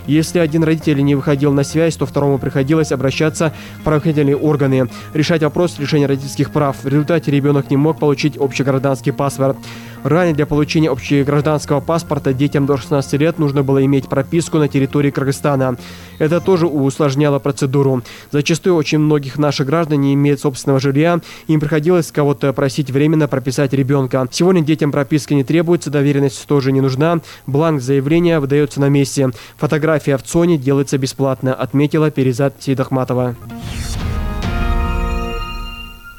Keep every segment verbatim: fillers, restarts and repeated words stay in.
Если один родитель не выходил на связь, то второму приходилось обращаться в правоохранительные органы, решать вопрос лишения родительских прав. В результате ребенок не мог получить общегражданский паспорт. Ранее для получения общегражданского паспорта детям до шестнадцати лет нужно было иметь прописку на территории Кыргызстана. Это тоже усложняло процедуру. Зачастую очень многих наших граждан не имеют собственного жилья, им приходилось кого-то просить временно прописать ребенка. Сегодня детям прописка не требуется, доверенность тоже не нужна. Бланк заявления выдается на месте. Фотография в ЦОНе делается бесплатно, отметила Перизат Сейдахматова.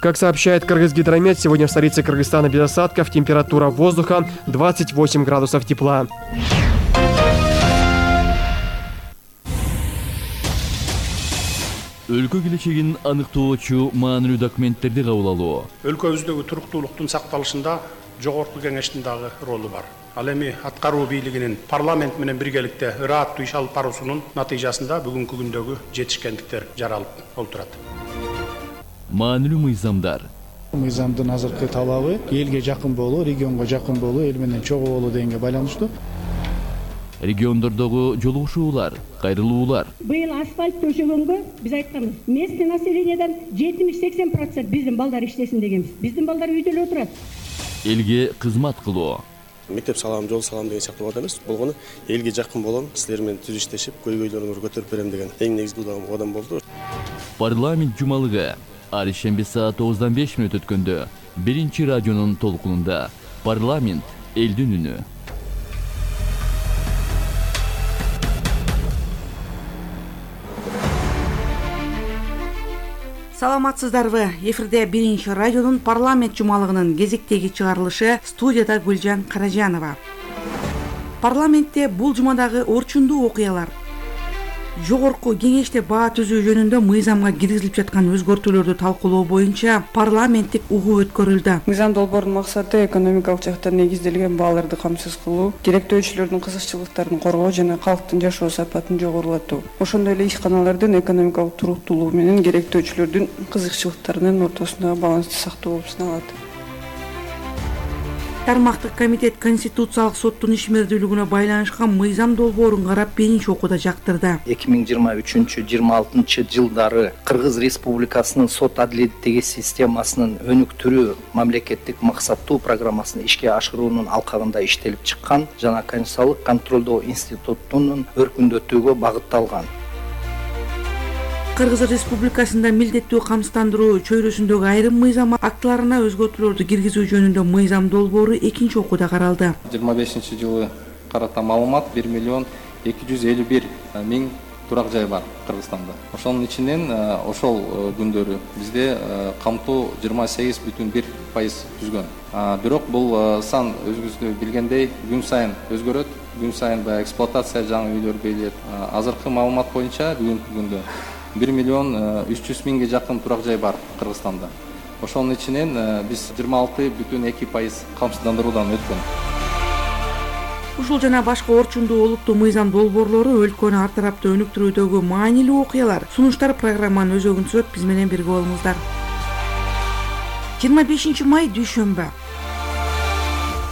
Как сообщает Кыргызгидромет, сегодня в столице Кыргызстана без осадков, температура воздуха двадцать восемь градусов тепла. Өлкө келечегин аныктоочу маанилүү документтерди кабыл алуу. Өлкөбүздөгү туруктуулуктун сакталышында жогорку кеңештин дагы ролу бар. Ал эми аткаруу бийлигинин парламент менен биргеликте ырааттуу иш алып баруусунун натыйжасында бүгүнкү күндөгү жетишкендиктер жаралып олтурат. Маанилүү мыйзамдар. Мыйзамдын азыркы талабы элге жакын болуу, регионго жакын болуу, эл менен чогуу болуу дегенге байланыштуу. Региондордогу жолугушуулар, кайрылуулар. Быйыл асфальт төшөгөнгө биз айтканбыз. Местный населениядан жетимиш сексен процент биздин балдар иштесин дегенбиз. Биздин балдар үйдө эле отурат. Элге кызмат кылуу. Мектеп салам, жол салам деген сыяктуу вада эмес. Болгону элге жакын болом, силер менен түз иштешип, көйгөйлөрүңөрдү көтөрүп берем деген эң негизги кадам болду. Парламент жумалыгы. Ар ишемби саат тогуздан беш мүнөт өткөндө биринчи радионун толкунунда парламент элдин үнү. Саламатсыздарбы? Эфирде биринчи радионун парламент жумалыгынын кезектеги чыгарылышы, студияда Гүлжан Каражанова. Парламентте бул жумадагы орчундуу окуялар. Жогорку кеңеште баа түзүү жөнүндө мыйзамга киргизилип жаткан өзгөртүүлөрдү талкуулоо боюнча парламенттик угуу өткөрүлдү. Мыйзам долбоорунун максаты экономикалык жактан негизделген бааларды камсыз кылуу, керектөөчүлөрдүн кызыкчылыктарын коргоо жана калктын жашоо сапатын жогорулатуу. Ошондой эле ишканалардын экономикалык туруктуулугу менен керектөөчүлөрдүн кызыкчылыктарынын ортосундагы балансты сактоо болуп саналат. Тармактык комитет Конституциялык соттун ишмердүүлүгүнө байланышкан мыйзам долбоорун карап биринчи окууда жактырды. эки миң жыйырма үчүнчү жыйырма алтынчы жылдары Кыргыз Республикасынын сот адилеттиги системасынын өнүктүрүү мамлекеттик максаттуу программасын ишке ашыруунун алкагында иштелип чыккан жана Конституциялык контролдоо институтунун өркүндөтүүгө багытталган. Кыргыз Республикасында милдеттүү камсыздандыруу чөйрөсүндөгү айрым мыйзам актыларына өзгөртүүлөрдү киргизүү жөнүндө мыйзам долбоору экинчи окууда каралды. жыйырма бешинчи жылы карата маалымат бир миллион эки жүз элүү бир миң турак жай бар Кыргызстанда. Ошонун ичинен ошол күндөрү бизде камтуу жыйырма сегиз бүтүн бир пайыз түзгөн. Бирок бул сан өзүңүз билгендей күн сайын өзгөрөт. Күн сайын баягы эксплуатация жаңы үйлөр берилет. Азыркы маалымат боюнча бүгүнкү күндө бир миллион үч жүз миңге жакын турак жай бар Кыргызстанда. Ошонун ичинен биз жыйырма алты бүтүн эки пайыз камсыздандыруудан өткөн. Ушул жана башка орчундуу олуттуу мыйзам долбоорлору өлкөнү ар тараптуу өнүктүрүүдөгү маанилүү окуялар. Сунуштар программанын өзөгүн түзөт, биз менен бирге болуңуздар. жыйырма бешинчи май дүйшөмбү.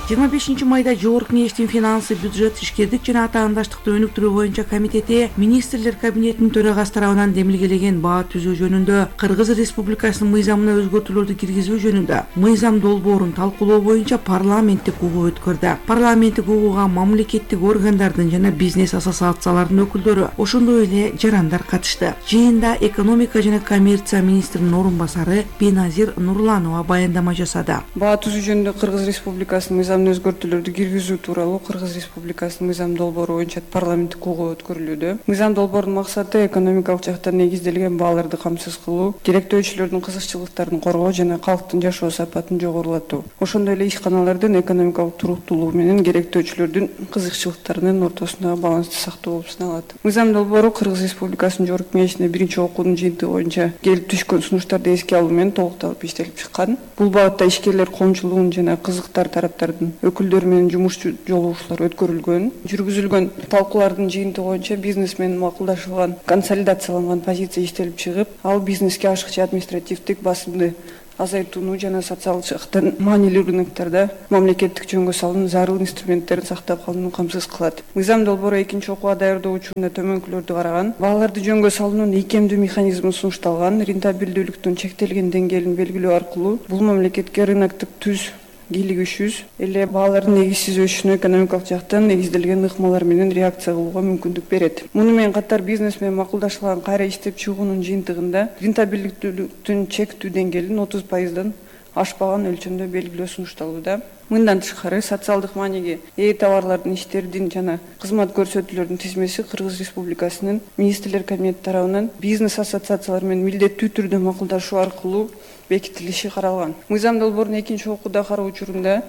жыйырма бешинчи майда Жогорку кеңештин финансы, бюджет, ишкердик жана атаандаштыкты өнүктүрүү боюнча комитети министрлер кабинетинин төрагасы тарабынан демилгелеген баа түзүү жөнүндө Кыргыз Республикасынын мыйзамына өзгөртүүлөрдү киргизүү жөнүндө мыйзам долбоорун талкуулоо боюнча парламенттик угуу өткөрдү. Парламенттик угууга мамлекеттик органдардын жана бизнес ассоциацияларынын өкүлдөрү, ошондой эле жарандар катышты. Жыйында экономика жана коммерция министринин орун басары Беназир Нурланова баяндама жасады. Баа түзүү жөнүндө Кыргыз Республикасынын мыйзам өзгөртүүлөрдү киргизүү тууралуу Кыргыз Республикасынын мыйзам долбоору боюнча парламенттик угуу өткөрүлүүдө. Мыйзам долбоорунун максаты экономикалык жактан негизделген бааларды камсыз кылуу, керектөөчүлөрдүн кызыкчылыктарын коргоо жана калктын жашоо сапатын жогорулатуу. Ошондой эле ишканалардын экономикалык туруктуулугу менен керектөөчүлөрдүн кызыкчылыктарынын ортосундагы балансты сактоо болуп саналат. Мыйзам долбоору Кыргыз Республикасынын Жогорку кеңешине биринчи окуунун жыйынтыгы боюнча келип түшкөн сунуштарды эске алуу менен толукталып иштелип чыккан. Бул багытта ишкерлер коомчулугунун жана кызыктар тараптардын өкүлдөрү менен жумуш жолугушуулар өткөрүлгөн. Жүргүзүлгөн талкуулардын жыйынтыгы боюнча бизнес менен макулдашылган консолидацияланган позиция иштелип чыгып, ал бизнеске ашыкча административдик басымды азайтууну жана социалдык жактан маанилүү рыноктарда мамлекеттик жөнгө салуунун зарыл инструменттерин сактап калууну камсыз кылат. Мыйзам долбоору экинчи окууга даярдоо учурунда төмөнкүлөрдү караган, бааларды жөнгө салуунун ийкемдүү механизми сунушталган, рентабелдүүлүктүн чектелген деңгээлин белгилөө аркылуу бул мамлекетке рыноктук түз кийлигишүүсүз эле баалардын негизсиз өсүшүнө экономикалык жактан негизделген ыкмалар менен реакция кылууга мүмкүндүк берет. Муну менен катар бизнес менен макулдашылган кайра иштеп чыгуунун жыйынтыгында рентабелдүүлүктүн чектүү деңгээлин отуз пайыздан ашпаган өлчөмдө белгилөө сунушталууда. Мындан тышкары социалдык мааниге ээ товарлардын, иштердин жана кызмат көрсөтүүлөрдүн тизмеси Кыргыз Республикасынын Министрлер Кабинети тарабынан бизнес ассоциациялар менен милдеттүү түрдө макулдашуу аркылуу бекитилиши каралган. Мыйзам долбоорун экинчи окууда кароо учурунда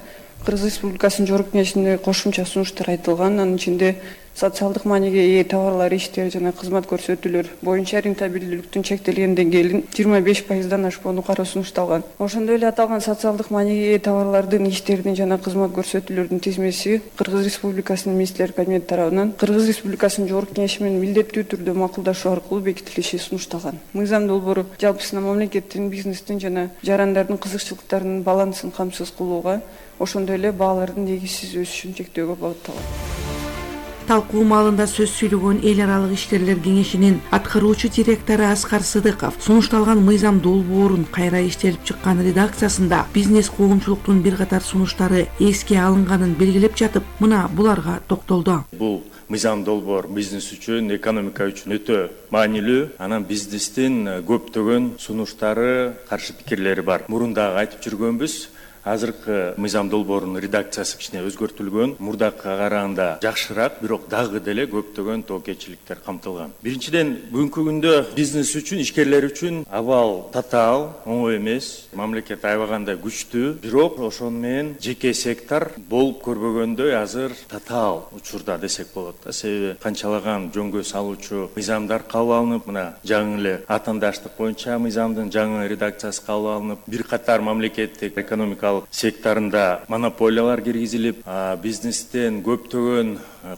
Кыргыз Республикасынын Жогорку Кеңешинде кошумча сунуштар айтылган. Анын ичинде социалдык мааниге ээ товарлар, иштер жана кызмат көрсөтүүлөр боюнча рентабелдүүлүктүн чектелген деңгээлин жыйырма беш пайыздан ашпоону кароо сунушталган. Ошондой эле аталган социалдык мааниге ээ товарлардын, иштердин жана кызмат көрсөтүүлөрдүн тизмеси Кыргыз Республикасынын Министрлер Кабинети тарабынан Кыргыз Республикасынын Жогорку Кеңеши менен милдеттүү түрдө макулдашуу аркылуу бекитилиши сунушталган. Мыйзам долбоору жалпысынан мамлекеттин, бизнестин жана жарандардын кызыкчылыктарынын балансын камсыз кылууга, ошондой эле баалардын негизсиз өсүшүн чектөөгө багытталган. Талкуу маалында сөз сүйлөгөн эл аралык ишкерлер кеңешинин аткаруучу директору Аскар Сыдыков сунушталган мыйзам долбоорун кайра иштелип чыккан редакциясында бизнес коомчулуктун бир катар сунуштары эске алынганын белгилеп жатып, мына буларга токтолду. Бул мыйзам долбоор бизнес үчүн, экономика үчүн өтө маанилүү. Анан бизнестин көптөгөн сунуштары, каршы пикирлери бар. Мурунда айтып жүргөнбүз. Азыркы мыйзам долбоорунун редакциясы кичине өзгөртүлгөн, мурдакыга караганда жакшыраак, бирок дагы деле көптөгөн тоокечиликтер камтылган. Биринчиден, бүгүнкү күндө бизнес үчүн, ишкерлер үчүн абал татаал, оңой эмес. Мамлекет аябагандай күчтүү, бирок ошону менен жеке сектор болуп көрбөгөндөй азыр татаал учурда десек болот да. Себеби канчалаган жөнгө салуучу мыйзамдар кабыл алынып, мына жаңы эле атаандаштык боюнча мыйзамдын жаңы редакциясы кабыл алынып, бир катар мамлекеттик экономикалык секторунда монополиялар киргизилип, бизнестен көптөгөн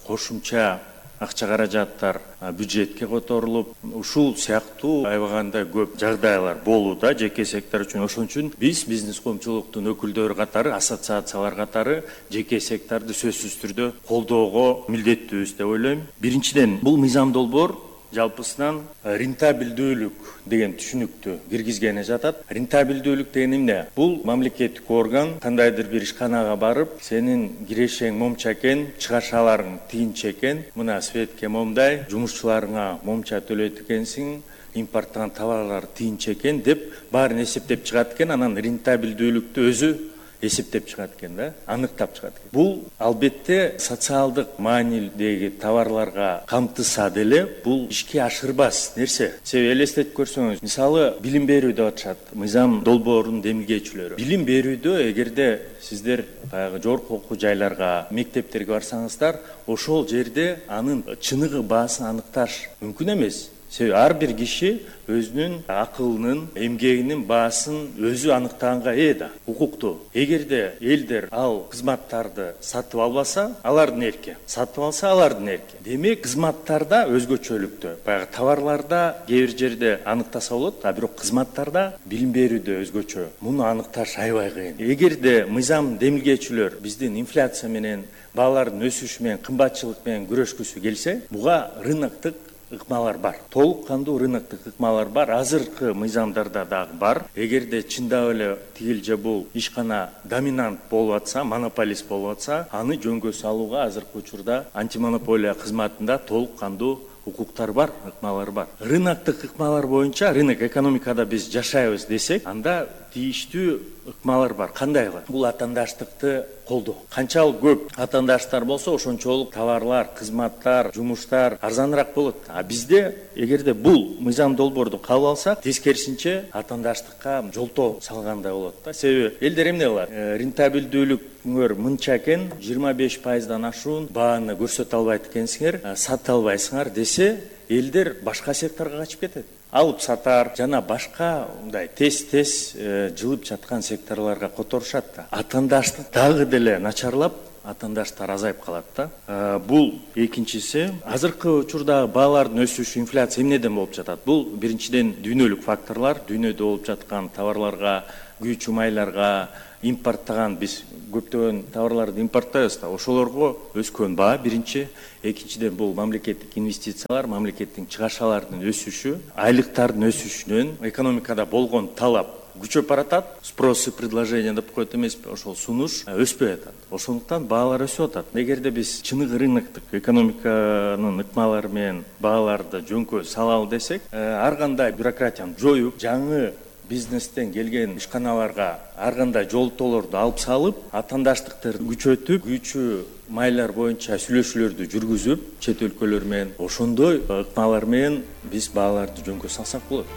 кошумча акча каражаттар бюджетке которулуп, ушул сыяктуу аябагандай көп жагдайлар болууда жеке сектор үчүн. Ошон үчүн биз бизнес коомчулуктун өкүлдөрү катары, ассоциациялар катары жеке секторду сөзсүз түрдө колдоого милдеттүүбүз деп ойлойм. Биринчиден, бул мыйзам долбоор жалпысынан рентабелдүүлүк деген түшүнүктү киргизгени жатат. Рентабелдүүлүк деген эмне? Бул мамлекеттик орган кандайдыр бир ишканага барып, сенин кирешең момча экен, чыгашаларың тыйынча экен, мына светке момдай, жумушчуларыңа момча төлөйт экенсиң, импорттогон товарлар тыйынча экен деп баарын эсептеп чыгат экен. Анан рентабелдүүлүктү өзү эсептеп чыгат экен да, аныктап чыгат экен. Бул албетте социалдык маанилдеги товарларга камтыса деле бул ишке ашырбас нерсе. Себеби элестетип көрсөңүз, мисалы билим берүү деп атышат мыйзам долбоорунун демилгечилери. Билим берүүдө эгерде сиздер баягы жогорку окуу жайларга, мектептерге барсаңыздар, ошол жерде анын чыныгы баасын аныкташ мүмкүн эмес. Себеби ар бир киши өзүнүн акылынын, эмгегинин баасын өзү аныктаганга ээ да, укуктуу. Эгерде элдер ал кызматтарды сатып албаса, алардын эрки. Сатып алса, алардын эрки. Демек, кызматтарда өзгөчөлүктө, баягы товарларда кээ бир жерде аныктаса болот, а бирок кызматтарда билим берүүдө өзгөчө. Муну аныкташ аябай кыйын. Эгерде мыйзам демилгечилер биздин инфляция менен, баалардын өсүшү менен, кымбатчылык менен күрөшкүсү келсе, буга рыноктук ыкмалар бар. Толук кандуу рыноктук ыкмалар бар. Азыркы мыйзамдарда дагы бар. Эгерде чындап эле тигил же бул ишкана доминант болуп атса, монополист болуп атса, аны жөнгө салууга азыркы учурда антимонополия кызматында толук кандуу укуктар бар, ыкмалар бар. Рыноктук ыкмалар боюнча, рынок экономикада биз жашайбыз десек, анда тийиштүү ыкмалар бар. Кандайлар? Бул атаандаштыкты колдоо. Канчалык көп атаандаштар болсо, ошончолук товарлар, кызматтар, жумуштар арзаныраак болот. А бизде эгерде бул мыйзам долбоорду кабыл алсак, тескерисинче атаандаштыкка жолтоо салгандай болот да. Себеби элдер эмне кылат? Рентабелдүүлүкүңөр мынча экен, жыйырма беш пайыздан ашуун бааны көрсөтө албайт экенсиңер, сата албайсыңар десе, элдер башка секторго качып кетет. Алып сатар жана башка мындай тез-тез жылып жаткан секторлорго которушат да. Атаандаштык дагы деле начарлап, атаандаштар азайып калат да. Бул экинчиси. Азыркы учурда баалардын өсүшү, инфляция эмнеден болуп жатат? Бул биринчиден дүйнөлүк факторлар, дүйнөдө болуп жаткан товарларга күйүүчү майларга, импорттаган биз көптөгөн товарларды импорттойбуз да, ошолорго өскөн баа биринчи. Экинчиден бул мамлекеттик инвестициялар, мамлекеттин чыгашаларынын өсүшү, айлыктардын өсүшүнөн экономикада болгон талап күчөп баратат. Спрос и предложение деп коет эмеспи, ошол сунуш өспөй атат. Ошондуктан баалар өсүп атат. Эгерде биз чыныгы рыноктук экономиканын ыкмалары менен бааларды жөнкө салалы десек, ар кандай бюрократияны жоюп, жаңы бизнестен келген ишканаларга ар кандай жолтоолорду алып салып, атаандаштыктарды күчөтүп, күйүүчү майлар боюнча сүйлөшүүлөрдү жүргүзүп, чет өлкөлөр менен ошондой ыкмалар менен биз бааларды жөнкө салсак болот.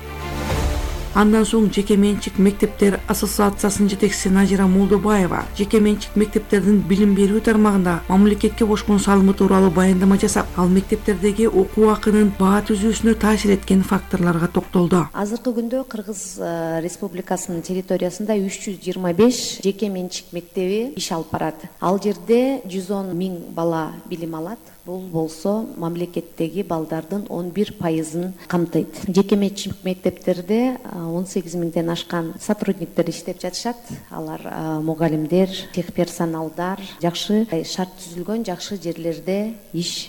Андан соң жеке менчик мектептер ассоциациясынын жетекчиси Назира Молдобаева жеке менчик мектептердин билим берүү тармагында мамлекетке кошкон салымы тууралуу баяндама жасап, ал мектептердеги окуу акынын баа түзүүсүнө таасир эткен факторлорго токтолду. Азыркы күндө Кыргыз Республикасынын территориясында үч жүз жыйырма беш жеке менчик мектеби иш алып барат. Ал жерде жүз он миң бала билим алат. Бул болсо мамлекеттеги балдардын он бир пайызын камтыйт. Жеке менчик мектептерде он сегиз миңден ашкан сотрудниктер иштеп жатышат. Алар мугалимдер, техперсоналдар, жакшы шарт түзүлгөн жакшы жерлерде иш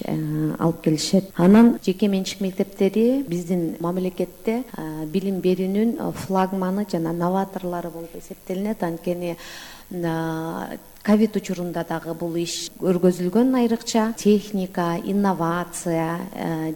алып келишет. Анан жеке менчик мектептери биздин мамлекетте билим берүүнүн флагманы жана новаторлору болуп эсептелинет. Анткени ковид учурунда дагы бул иш өргөзүлгөн, айрыкча техника, инновация,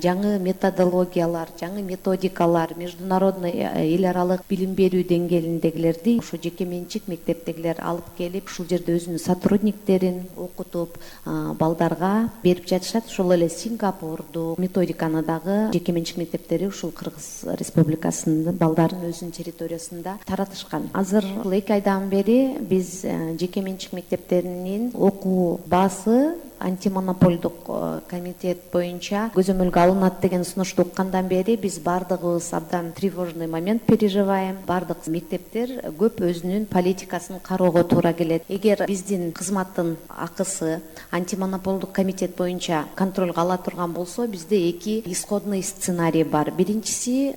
жаңы методологиялар, жаңы методикалар, международный эл аралык билим берүү деңгээлиндегилерди ошо жеке менчик мектептегилер алып келип, ушул жерде өзүнүн сотрудниктерин окутуп, балдарга берип жатышат. Ошол эле Сингапурду методиканы дагы жеке менчик мектептери ушул Кыргыз Республикасынын балдарын өзүнүн территориясында таратышкан. Азыр эки айдан бери биз жеке менчик мектептеринин окуу баасы антимонополдук комитет боюнча көзөмөлгө алынат деген сунушту уккандан бери биз бардыгыбыз абдан тревожный момент переживаем. Бардык мектептер көп өзүнүн политикасын кароого туура келет. Эгер биздин кызматтын акысы антимонополдук комитет боюнча контролго ала турган болсо, бизде эки исходный сценарий бар. Биринчиси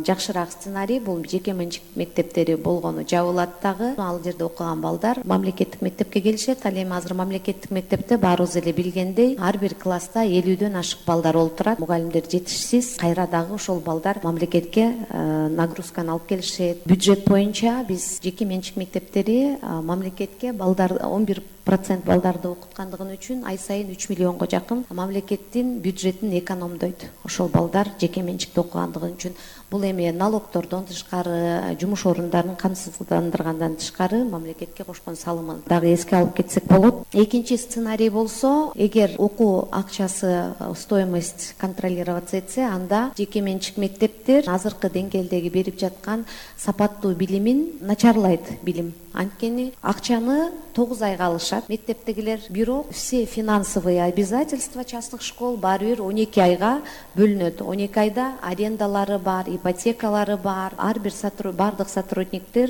жакшыраак сценарий бул жеке менчик мектептери болгону жабылат дагы. Ал жерде окуган балдар мамлекеттик мектепке келишет. Ал эми азыр мамлекеттик мектепте баарыбыз эле билгендей ар бир класста элүүдөн ашык балдар олтурат. Мугалимдер жетишсиз. Кайра дагы ошол балдар мамлекетке нагрузканы алып келишет. Бюджет боюнча биз жеке менчик мектептери мамлекетке балдар он бир процент балдарды окуткандыгы үчүн ай сайын үч миллионго жакын мамлекеттин бюджетин экономдойт. Ошол балдар жеке менчикте окугандыгы үчүн бул эми налогтордон тышкары, жумуш орундарын камсыздандыргандан тышкары мамлекетке кошкон салымын дагы эске алып кетсек болот. Экинчи сценарий болсо, эгер окуу акчасы, стоимость контролироваться этсе, анда жеке менчик мектептер азыркы деңгээлдеги берип жаткан сапаттуу билимин начарлайт. Билим анткени акчаны тогуз айга алышат мектептегилер, бирок все финансовые обязательства частных школ баары бир он эки айга бөлүнөт. он эки айда арендалары бар, ипотекалары бар. Ар бир бардык сотрудниктер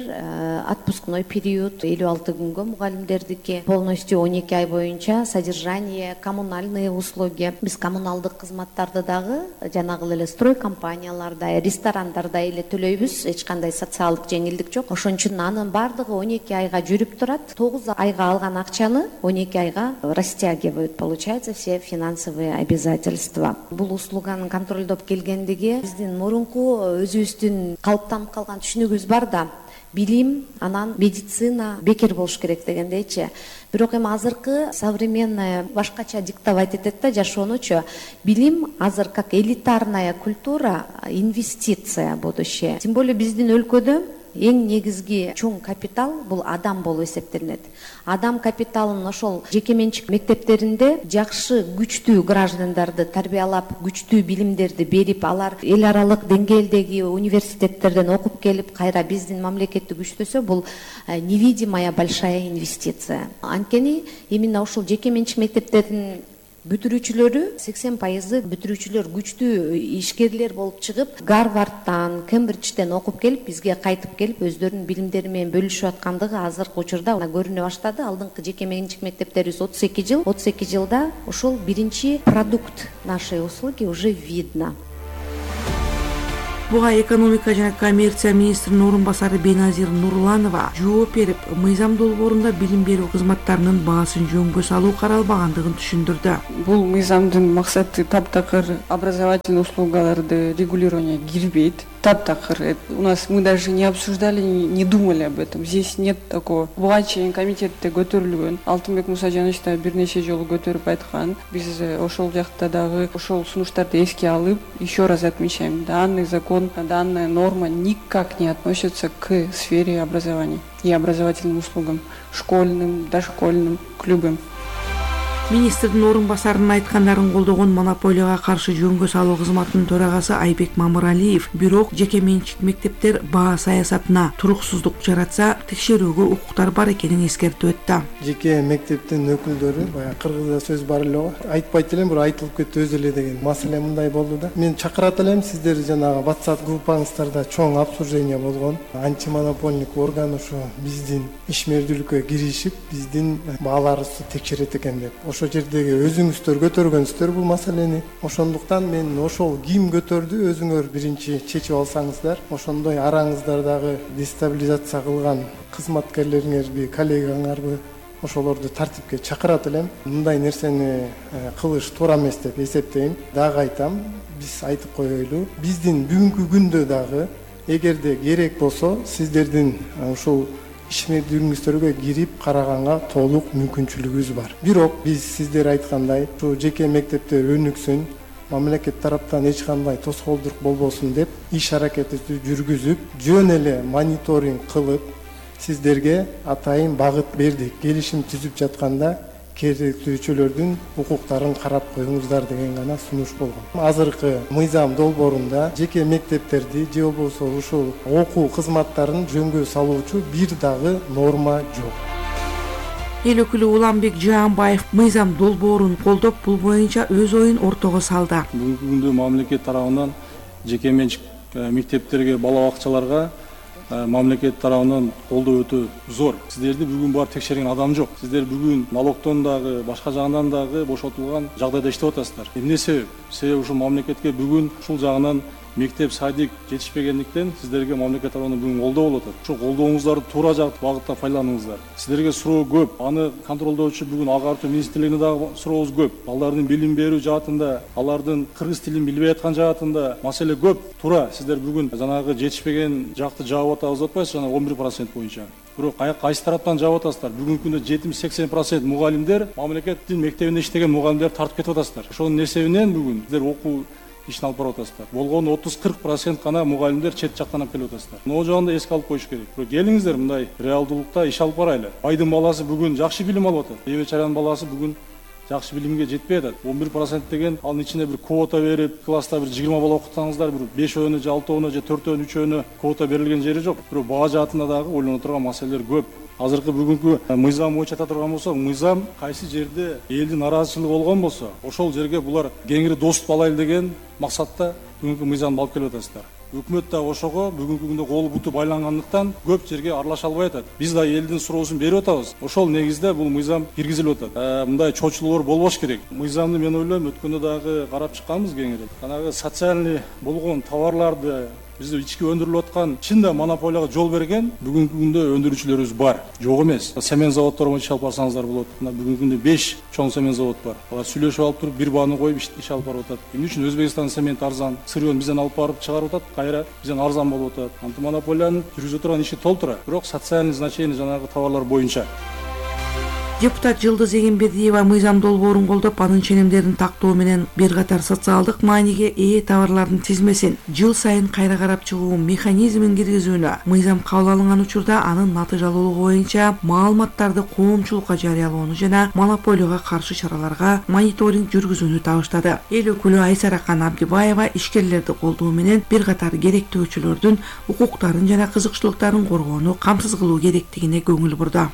отпускной период элүү алты күнгө, мугалимдердики полностью он эки ай боюнча содержание, коммунальные услуги. Биз коммуналдык кызматтарды дагы жанагы эле строй компанияларда, ресторандарда эле төлөйбүз. Эч кандай социалдык жеңилдик жок. Ошон үчүн анын бардыгы он эки айга жүрүп турат. тогуз айга алган акчаны он эки айга растягивают, получается, все финансовые обязательства. Бул услуганы контролдоп келгендиги биздин мурунку өзүбүздүн калыптанып калган түшүнүгүбүз бар да. Билим, анан медицина бекер болуш керек дегендейчи. Бирок эми азыркы современная башкача диктовать этет да жашоонучу. Билим азыр как элитарная культура, инвестиция в будущее. Тем более биздин өлкөдө эң негизги чоң капитал бул адам болуп эсептелинет. Адам капиталын ошол жеке менчик мектептеринде жакшы, күчтүү граждандарды тарбиялап, күчтүү билимдерди берип, алар эл аралык деңгээлдеги университеттерден окуп келип, кайра биздин мамлекетти күчтөсө, бул невидимая большая инвестиция. Анткени именно ошол жеке менчик мектептердин бүтүрүүчүлөрү сексен пайызы бүтүрүүчүлөр күчтүү ишкерлер болуп чыгып, Гарвардтан, Кембриджден окуп келип, бизге кайтып келип, өздөрүнүн билимдери менен бөлүшүп аткандыгы азыркы учурда көрүнө баштады. Алдыңкы жеке менчик мектептерибиз отуз эки жыл, отуз эки жылда ошол биринчи продукт нашей услуги уже видно. Буга экономика жана коммерция министринин орун басары Беназир Нурланова жооп берип, мыйзам долбоорунда билим берүү кызматтарынын баасын жөнгө салуу каралбагандыгын түшүндүрдү. Бул мыйзамдын максаты таптакыр образовательный услугаларды регулирование кирбейт. Таптакыр. У нас мы даже не обсуждали, не думали об этом. Здесь нет такого. Буга чейин комитетте көтөрүлгөн. Алтынбек Мусажанович да бир нече жолу көтөрүп айткан. Биз ошол жакта дагы ошол сунуштарды эске алып, еще раз отмечаем, данный закон, данная норма никак не относится к сфере образования и образовательным услугам, школьным, дошкольным, к любым. Министрдин орун басарынын айткандарын колдогон монополияга каршы жөнгө салуу кызматынын төрагасы Айбек Мамыралиев, бирок жеке менчик мектептер баа саясатына туруксуздук жаратса, текшерүүгө укуктар бар экенин эскертип өттү. Жеке мектептин өкүлдөрү баягы кыргызда сөз бар эле го. Айтпайт элем, бирок айтылып кетти өзү эле деген маселе мындай болду да. Мен чакырат элем, сиздер жанагы WhatsApp группаңыздарда чоң обсуждение болгон. Антимонопольник орган ушу биздин ишмердүүлүккө киришип, биздин бааларыбызды текшерет экен деп. Ошо жердеги өзүңүздөр көтөргөнсүздөр бул маселени. Ошондуктан мен ошол ким көтөрдү, өзүңөр биринчи чечип алсаңыздар, ошондой араңыздардагы дестабилизация кылган кызматкерлериңерби, коллегаңарбы ошолорду тартипке чакырат элем. Мындай нерсени кылыш туура эмес деп эсептейм. Дагы айтам, биз айтып коелу, биздин бүгүнкү күндө дагы эгерде керек болсо, сиздердин ушул ишмердүүлүгүңүздөргө кирип караганга толук мүмкүнчүлүгүбүз бар. Бирок биз сиздер айткандай, ушу жеке мектептер өнүксүн, мамлекет тараптан эч кандай тоскоолдук болбосун деп иш аракетти жүргүзүп, жөн эле мониторинг кылып, сиздерге атайын багыт бердик. Келишим түзүп жатканда керектүүчүлөрдүн укуктарын карап коюңуздар деген гана сунуш болгон. Азыркы мыйзам долбоорунда жеке мектептерди же болбосо ушул окуу кызматтарын жөнгө салуучу бир дагы норма жок. Эл өкүлү Уланбек Жаанбаев мыйзам долбоорун колдоп, бул боюнча өз оюн ортого салды. Бүгүнкү күндө мамлекет тарабынан жеке менчик мектептерге, бала бакчаларга мамлекет тарабынан колдоо өтө зор. Сиздерди бүгүн бар текшерген адам жок. Сиздер бүгүн налогтон дагы, башка жагынан дагы бошотулган жагдайда иштеп атасыздар. Эмне себеп? Себеби ушул мамлекетке бүгүн ушул жагынан мектеп, садик жетишпегендиктен сиздерге мамлекет тарабынан бүгүн колдоо болуп атат. Ошол колдооңуздарды туура багытта пайдаланыңыздар. Сиздерге суроо көп. Аны контролдоочу бүгүн агартуу министрлигине дагы сурообуз көп. Балдардын билим берүү жаатында, алардын кыргыз тилин билбей аткан жаатында маселе көп. Туура сиздер бүгүн жанагы жетишпеген жакты жаап атабыз деп атпайсыз, жана он бир процент боюнча. Бирок кайсы тараптан жаап атасыздар? Бүгүнкү күндө жетимиш сексен процент мугалимдер мамлекеттин мектебинде иштеген мугалимдер тартып кетип атасыздар. Ошонун эсебинен бүгүн сиздер окуу ишин алып барып атасыздар. Болгону отуз кырк процент гана мугалимдер чет жактан алып келип атасыздар. Могу жагында эске алып коюш керек. Бирок келиңиздер мындай реалдуулукта иш алып барайлы. Байдын баласы бүгүн жакшы билим алып атат. Эбечаранын баласы бүгүн жакшы билимге жетпей атат. он бир процент деген анын ичинде бир квота берип, класста бир жыйырма бала окутсаңыздар, бир бешөөнү же алтөөнү же төртөөнү, үчөөнү квота берилген жери жок. Бирок баа жаатында дагы ойлоно турган маселелер көп. Азыркы бүгүнкү мыйзам боюнча ата турган болсо, мыйзам кайсы жерде элдин нараазычылыгы болгон болсо, ошол жерге булар кеңири доступ алайлы деген максатта бүгүнкү мыйзамды алып келип атасыздар. Өкмөт да ошого бүгүнкү күндө колу буту байлангандыктан көп жерге аралаша албай атат. Биз да элдин суроосун берип атабыз. Ошол негизде бул мыйзам киргизилип атат. Мындай чочулуур болбош керек. Мыйзамды мен ойлойм өткөндө дагы карап чыкканбыз кеңири. Жанагы социальный болгон товарларды бизде ички өндүрүлүп аткан чында монополияга жол берген бүгүнкү күндө өндүрүүчүлөрүбүз бар. Жок эмес. Семен заводдору боюнча алып барсаңыздар болот. Мына бүгүнкү күндө беш чоң семен завод бар. Алар сүйлөшүп алып туруп бир бааны коюп иш алып барып атат. Эмне үчүн Өзбекстан семент арзан, сырьён бизден алып барып чыгарып атат, кайра бизден арзан болуп атат. Антимонополиянын жүргүзө турган иши толтура. Бирок социальный значение жанагы товарлар боюнча. Депутат Жылдыз Эгембердиева мыйзам долбоорун колдоп, анын ченемдерин тактоо менен бир катар социалдык мааниге ээ товарлардын тизмесин жыл сайын кайра карап чыгуу механизмин киргизүүнү, мыйзам кабыл алынган учурда анын натыйжалуулугу боюнча маалыматтарды коомчулукка жарыялоону жана монополияга каршы чараларга мониторинг жүргүзүүнү табыштады. Эл өкүлү Айсаракан Абдибаева ишкерлерди колдоо менен бир катар керектөөчүлөрдүн укуктарын жана кызыкчылыктарын коргоону камсыз кылуу керектигине көңүл бурду.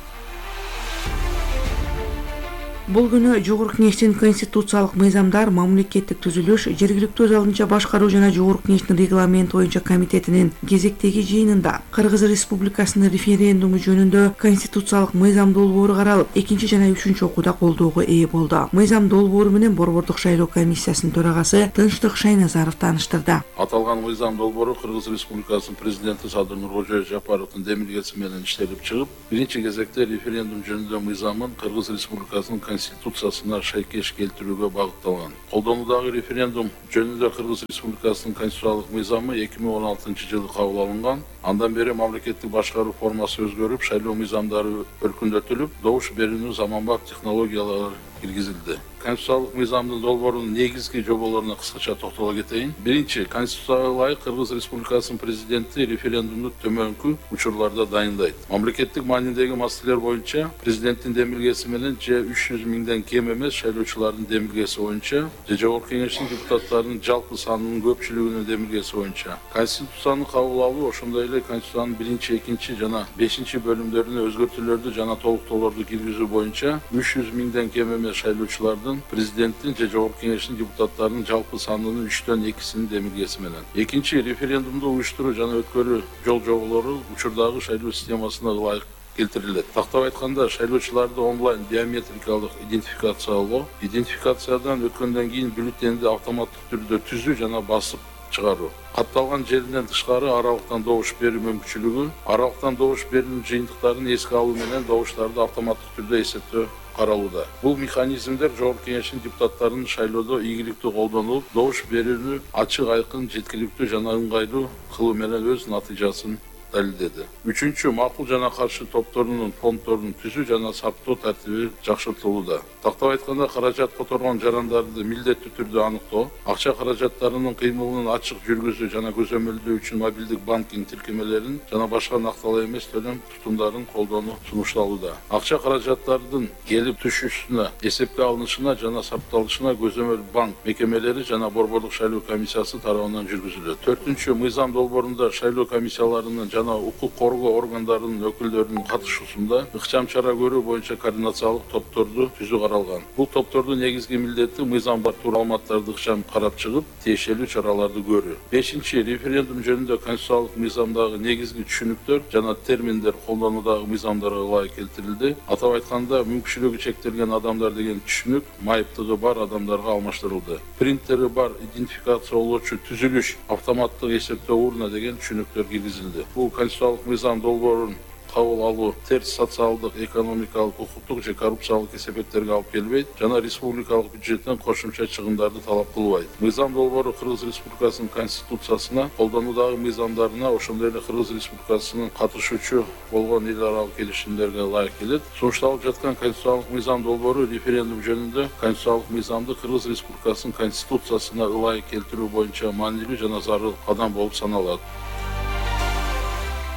Бул күнү Жогорку Кеңештин конституциялык мыйзамдар, мамлекеттик түзүлүш, жергиликтүү өз алдынча башкаруу жана Жогорку Кеңештин регламенти боюнча комитетинин кезектеги жыйынында Кыргыз Республикасынын референдуму жөнүндө конституциялык мыйзам долбоору каралып, экинчи жана үчүнчү окууда колдоого ээ болду. Мыйзам долбоору менен Борбордук шайлоо комиссиясынын төрагасы Тынчтык Шайназаров тааныштырды. Аталган мыйзам долбоору Кыргыз Республикасынын президенти Садыр Нуркожоевич Жапаровдун демилгеси менен иштелип чыгып, биринчи кезекте референдум жөнүндө мыйзамын Кыргыз Республикасынын конституциясына шайкеш келтирүүгө багытталган. Колдонуудагы референдум жөнүндө Кыргыз Республикасынын конституциялык мыйзамы эки миң он алтынчы жылы кабыл алынган. Андан бери мамлекеттик башкаруу формасы өзгөрүп, шайлоо мыйзамдары өркүндөтүлүп, добуш берүүнү заманбап технологиялар киргизилди. Конституциялык мыйзамдын долбоорунун негизги жоболоруна кыскача токтоло кетейин. Биринчи, Конституцияга ылайык Кыргыз Республикасынын президенти референдумду төмөнкү учурларда дайындайт. Мамлекеттик маанидеги маселелер боюнча президенттин демилгеси менен же үч жүз миңден кем эмес шайлоочулардын демилгеси боюнча же Жогорку Кеңештин депутаттарынын жалпы санынын көпчүлүгүнүн демилгеси боюнча Конституцияны кабыл алуу, ошондой эле Конституциянын биринчи, экинчи жана бешинчи бөлүмдөрүнө өзгөртүүлөрдү жана толуктоолорду киргизүү боюнча үч жүз миңден кем эмес шайлоочулардын президенттин же Жогорку Кеңештин депутаттарынын жалпы санынын үчтөн экисинин демилгеси менен. Экинчи, референдумду уюштуруу жана өткөрүү жол жоболору учурдагы шайлоо системасына ылайык келтирилет. Тактап айтканда, шайлоочуларды онлайн биометрикалык идентификациялоо, идентификациядан өткөндөн кийин бюллетенди автоматтык түрдө түзүү жана басып чыгаруу. Катталган жеринен тышкары аралыктан добуш берүү мүмкүнчүлүгү, аралыктан добуш берүүнүн жыйынтыктарын эске алуу менен добуштарды автоматтык түрдө эсептөө каралууда. Бул механизмдер Жогорку Кеңештин депутаттарынын шайлоодо ийгиликтүү колдонулуп, добуш берүүнү ачык, айкын, жеткиликтүү жана ыңгайлуу кылуу менен өз натыйжасын далилдеди. Үчүнчү, макул жана каршы топторунун фонддорун түзүү жана саптоо тартиби жакшыртылууда. Тактап айтканда, каражат которгон жарандарды милдеттүү түрдө аныктоо, акча каражаттарынын кыймылынын ачык жүргүзүү жана көзөмөлдөө үчүн мобилдик банкинг тиркемелерин жана башка накталуу эмес төлөм тутумдарын колдонуу сунушталууда. Акча каражаттардын келип түшүүсүнө, эсепке алынышына жана сапталышына көзөмөл банк мекемелери жана Борбордук шайлоо комиссиясы тарабынан жүргүзүлөт. Төртүнчү, мыйзам долбоорунда шайлоо комиссияларынын жана укук коргоо органдарынын өкүлдөрүнүн катышуусунда ыкчам чара көрүү боюнча координациялык топторду түзүү каралган. Бул топтордун негизги милдети мыйзам бар маалыматтарды ыкчам карап чыгып, тиешелүү чараларды көрүү. Бешинчи, референдум жөнүндө конституциялык мыйзамдагы негизги түшүнүктөр жана терминдер колдонуудагы мыйзамдарга ылайык келтирилди. Атап айтканда, мүмкүнчүлүгү чектелген адамдар деген түшүнүк майыптыгы бар адамдарга алмаштырылды. Принтери бар идентификациялоочу түзүлүш, автоматтык эсептөө урна деген түшүнүктөр киргизилди. Бул конституциялык мыйзам долбоорун кабыл алуу терс социалдык, экономикалык, укуктук же коррупциялык кесепеттерге алып келбейт жана республикалык бюджеттен кошумча чыгымдарды талап кылбайт. Мыйзам долбоору Кыргыз Республикасынын конституциясына, колдонуудагы мыйзамдарына, ошондой эле Кыргыз Республикасынын катышуучу болгон эл аралык келишимдерге ылайык келет. Сунушталып жаткан конституциялык мыйзам долбоору референдум жөнүндө конституциялык мыйзамды Кыргыз Республикасынын конституциясына ылайык келтирүү боюнча маанилүү жана зарыл кадам болуп саналат.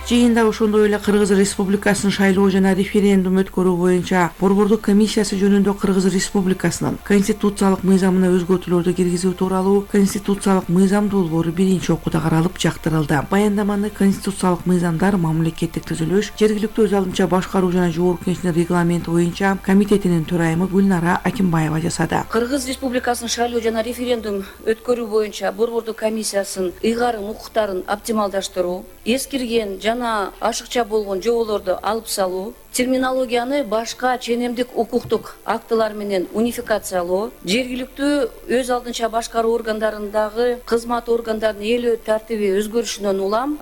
Жыйында ошондой эле Кыргыз Республикасынын шайлоо жана референдум өткөрүү боюнча Борбордук комиссиясы жөнүндө Кыргыз Республикасынын конституциялык мыйзамына өзгөртүүлөрдү киргизүү тууралуу конституциялык мыйзам долбоору биринчи окууда каралып жактырылды. Баяндаманы конституциялык мыйзамдар, мамлекеттик түзүлүш, жергиликтүү өз алдынча башкаруу жана Жогорку Кеңештин регламенти боюнча комитетинин төрайымы Гүлнара Акимбаева жасады. Кыргыз Республикасынын шайлоо жана референдум өткөрүү боюнча Борбордук комиссиясынын ыйгарым укуктарын оптималдаштыруу, эскирген жана ашыкча болгон жоболорду алып салуу, терминологияны башка ченемдик укуктук актылар менен унификациялоо, жергиликтүү өз алдынча башкаруу органдарындагы кызмат органдарынын ээлөө тартиби өзгөрүшүнөн улам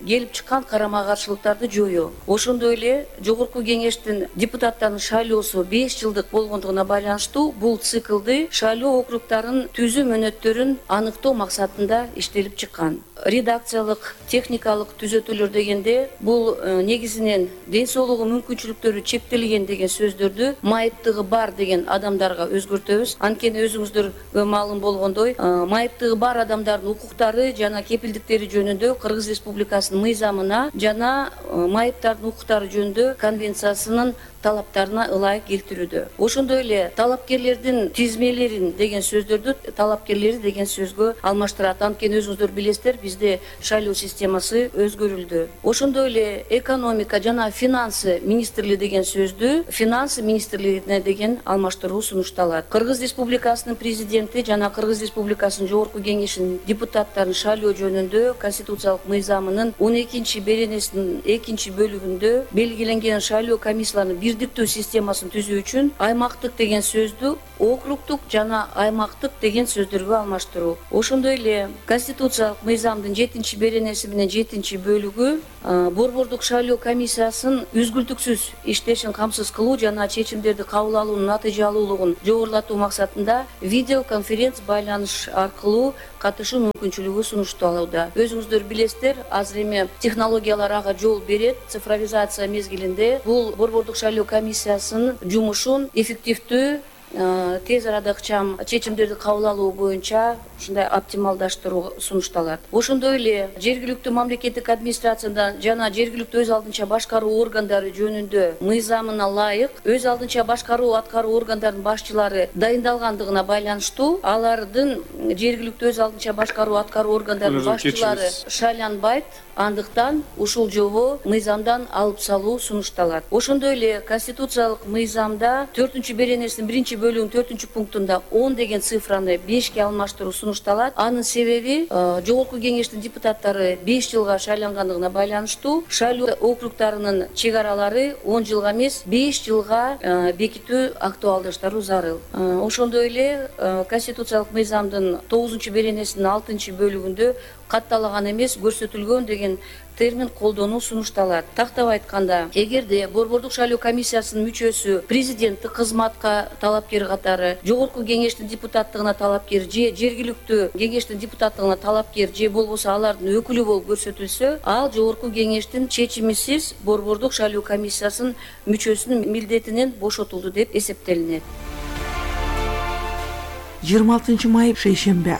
келип чыккан карама каршылыктарды жоюу. Ошондой эле Жогорку Кеңештин депутаттарынын шайлоосу беш жылдык болгондугуна байланыштуу бул циклды шайлоо округдарын түзүү мөөнөттөрүн аныктоо максатында иштелип чыккан. Редакциялык, техникалык түзөтүүлөр дегенде бул негизинен ден соолугу мүмкүнчүлүктөрү чектелген деген сөздөрдү майыптыгы бар деген адамдарга өзгөртөбүз. Анткени өзүңүздөргө маалым болгондой, майыптыгы бар адамдардын укуктары жана кепилдиктери жөнүндө Кыргыз Республикасынын мыйзамына жана майыптардын укуктары жөнүндө конвенциясынын талаптарына ылайык келтирүүдө. Ошондой эле талапкерлердин тизмелерин деген сөздөрдү талапкерлери деген сөзгө алмаштырат. Анткени өзүңүздөр билесиздер, бизде шайлоо системасы өзгөрүлдү. Ошондой эле экономика жана финансы министрлиги деген сөздү финансы министрлигине деген алмаштыруу сунушталат. Кыргыз Республикасынын президенти жана Кыргыз Республикасынын жогорку кеңешинин депутаттарын шайлоо жөнүндө Конституциялык мыйзамынын он экинчи беренесинин экинчи бөлүгүндө белгиленген шайлоо комиссияларынын бирдиктүү системасын түзүү үчүн аймактык деген сөздү округдук жана аймактык деген сөздөргө алмаштыруу. Ошондой эле Конституциялык мыйзамдын жетинчи беренеси менен жетинчи бөлүгү борбордук шайлоо комиссиясынын үзгүлтүксүз иштешин камсыз кылуу жана чечимдерди кабыл алуунун натыйжалуулугун жогорулатуу максатында видеоконференц байланыш аркылуу катышуу мүмкүнчүлүгү сунушталууда. Өзүңүздөр билесиздер, азыр эми технологиялар ага жол берет. Цифровизация мезгилинде бул борбордук шайлоо комиссиясынын жумушун эффективдүү тез арада ыкчам чечимдерди кабыл алуу боюнча ушундай оптималдаштыруу сунушталат. Ошондой эле жергиликтүү мамлекеттик администрацияда жана жергиликтүү өз алдынча башкаруу органдары жөнүндө мыйзамына ылайык өз алдынча башкаруу аткаруу органдарынын башчылары дайындалгандыгына байланыштуу алардын жергиликтүү өз алдынча башкаруу аткаруу органдарынын башчылары шайланбайт. Андыктан ушул жобо мыйзамдан алып салуу сунушталат. Ошондой эле Конституциялык мыйзамда төртүнчү беренесинин биринчи бөлүгүнүн төртүнчү пунктунда он деген цифраны бешке алмаштыруу сунушталат. Анын себеби жогорку кеңештин депутаттары беш жылга шайлангандыгына байланыштуу шайлоо округдарынын чек аралары он жылга эмес беш жылга бекитүү актуалдаштыруу зарыл. Ошондой эле Конституциялык мыйзамдын тогузунчу беренесинин алтынчы бөлүгүндө катталаган эмес көрсөтүлгөн деген термин колдонуу сунушталат. Тактап айтканда, эгерде борбордук шайлоо комиссиясынын мүчөсү президенттик кызматка талапкер катары, жогорку кеңештин депутаттыгына талапкер же жергиликтүү кеңештин депутаттыгына талапкер же болбосо алардын өкүлү болуп көрсөтүлсө, ал жогорку кеңештин чечимисиз борбордук шайлоо комиссиясынын мүчөсүнүн милдетинен бошотулду деп эсептелинет. жыйырма алтынчы май шейшембе.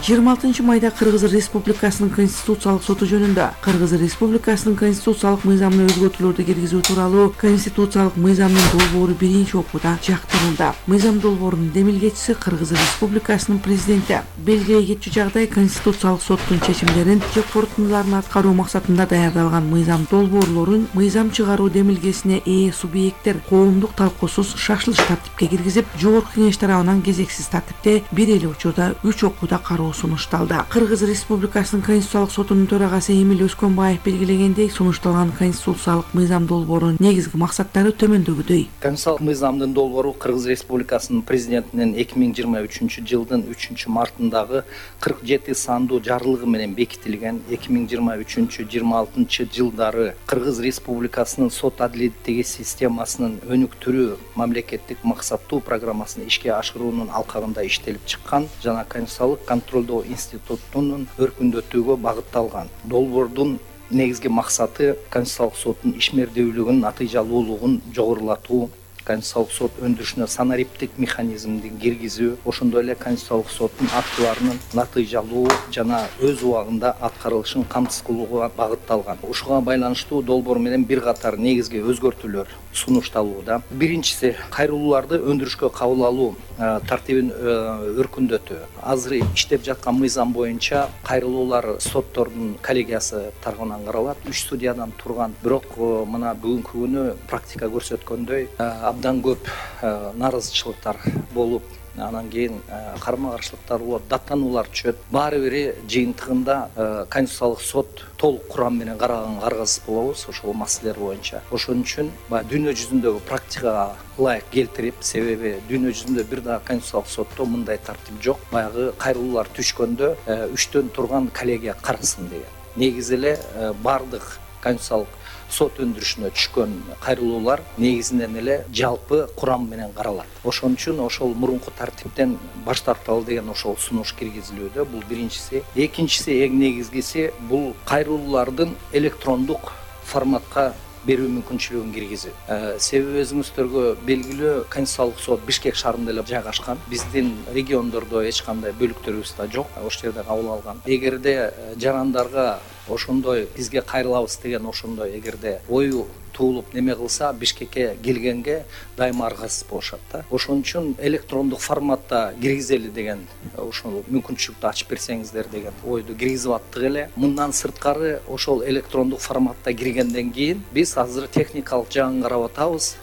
жыйырма алтынчы майда Кыргыз Республикасынын Конституциялык соту жөнүндө Кыргыз Республикасынын конституциялык мыйзамына өзгөртүүлөрдү киргизүү тууралуу Конституциялык мыйзамдын долбоору биринчи окууда жактырылды. Мыйзам долбоорунун демилгечиси Кыргыз Республикасынын президенти. Белгилей кетчү жагдай Конституциялык соттун чечимдерин же корутундуларын аткаруу максатында даярдалган мыйзам долбоорлорун мыйзам чыгаруу демилгесине ээ субъекттер коомдук талкуусуз шашылыш тартипке киргизип, жогорку кеңеш тарабынан кезексиз тартипте бир эле учурда үч окууда кароо сунушталды. Кыргыз Республикасынын Конституциялык сотунун төрагасы Эмил Өскөнбаев белгилегендей, сунушталган конституциялык мыйзам долбоорунун негизги максаттары төмөндөгүдөй. Конституциялык мыйзамдын долбоору Кыргыз Республикасынын президентинин эки миң жыйырма үчүнчү жылдын үчүнчү мартындагы кырк жети сандуу жарлыгы менен бекитилген эки миң жыйырма үчүнчү жыйырма алтынчы жылдары Кыргыз Республикасынын сот адилеттеги системасынын өнүктүрүү мамлекеттик максаттуу программасын ишке ашыруунун алкагында иштелип чыккан жана конституциялык контролдоо институтунун өркүндөтүүгө багытталган. Долбоордун негизги максаты Конституциялык соттун ишмердүүлүгүнүн натыйжалуулугун жогорулатуу, Конституциялык сот өндүрүшүнө санариптик механизмди киргизүү, ошондой эле Конституциялык соттун актыларынын натыйжалуу жана өз убагында аткарылышын камсыз кылууга багытталган. Ушуга байланыштуу долбоор менен бир катар негизги өзгөртүүлөр сунушталууда. Биринчиси, кайрылууларды өндүрүшкө кабыл алуу тартибин өркүндөтүү. Азыр иштеп жаткан мыйзам боюнча кайрылуулар соттордун коллегиясы тарабынан каралат. үч судьядан турган, бирок мына бүгүнкү күнү практика көрсөткөндөй абдан көп наразычылыктар болуп, анан кийин карама каршылыктар болот, даттануулар түшөт. Баары бири жыйынтыгында Конституциялык сот толук курам менен караганга аргасыз болобуз ошол маселелер боюнча. Ошон үчүн баягы дүйнө жүзүндөгү практикага ылайык келтирип, себеби дүйнө жүзүндө бир дагы Конституциялык сотто мындай тартип жок. Баягы кайрылуулар түшкөндө үчтөн турган коллегия карасын деген. Негизи эле бардык Конституциялык сот өндүрүшүнө түшкөн кайрылуулар негизинен эле жалпы курам менен каралат. Ошон үчүн ошол мурунку тартиптен баш тарталы деген ошол сунуш киргизилүүдө. Бул биринчиси. Экинчиси, эң негизгиси, бул кайрылуулардын электрондук форматка берүү мүмкүнчүлүгүн киргизүү. Себеби өзүңүздөргө белгилүү, Конституциялык сот Бишкек шаарында эле жайгашкан. Биздин региондордо эч кандай бөлүктөрүбүз да жок. Ошол жерде кабыл алган. Эгерде жарандарга ошондой бизге кайрылабыз деген ошондой эгерде ою туулуп неме кылса Бишкекке келгенге дайыма аргасыз болушат да. Ошон үчүн электрондук форматта киргизели деген ошол мүмкүнчүлүктү ачып берсеңиздер деген ойду киргизип аттык эле. Мындан сырткары ошол электрондук форматта киргенден кийин биз азыр техникалык жагын карап атабыз.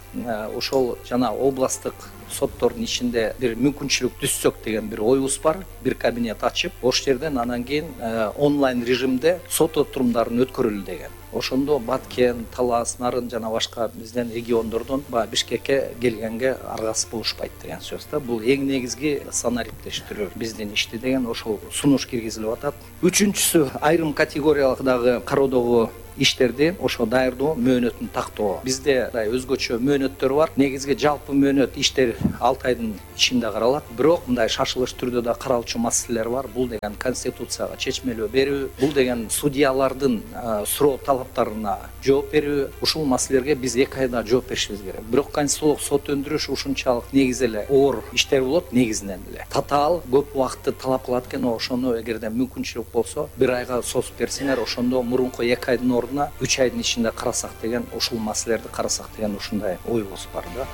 Ошол жана областтык соттордун ичинде бир мүмкүнчүлүк түзсөк деген бир оюбуз бар. Бир кабинет ачып, ошол жерден анан кийин онлайн режимде сот отурумдарын өткөрөлү деген. Ошондо Баткен, Талас, Нарын жана башка бизден региондордон баягы Бишкекке келгенге аргасыз болушпайт деген сөз да. Бул эң негизги санариптештирүү биздин ишти деген ошол сунуш киргизилип атат. Үчүнчүсү айрым категориялык дагы кароодогу иштерди ошо даярдоо мөөнөтүн тактоо. Бизде өзгөчө мөөнөттөр бар. Негизги жалпы мөөнөт иштер алты айдын ичинде каралат. Бирок мындай шашылыш түрдө да каралчу маселелер бар. Бул деген конституцияга чечмелөө берүү, бул деген судьялардын суроо талаптарына жооп берүү. Ушул маселелерге биз эки айда жооп беришибиз керек. Бирок конституциялык сот өндүрүш ушунчалык негиз эле оор иштер болот, негизинен эле. Татаал көп убакытты талап кылат экен. Ошону эгерде мүмкүнчүлүк болсо, бир айга созуп берсеңер, ошондо мурунку эки айдын ордуна үч айдын ичинде карасак деген, ушул маселелерди карасак деген ушундай оюбуз бар да.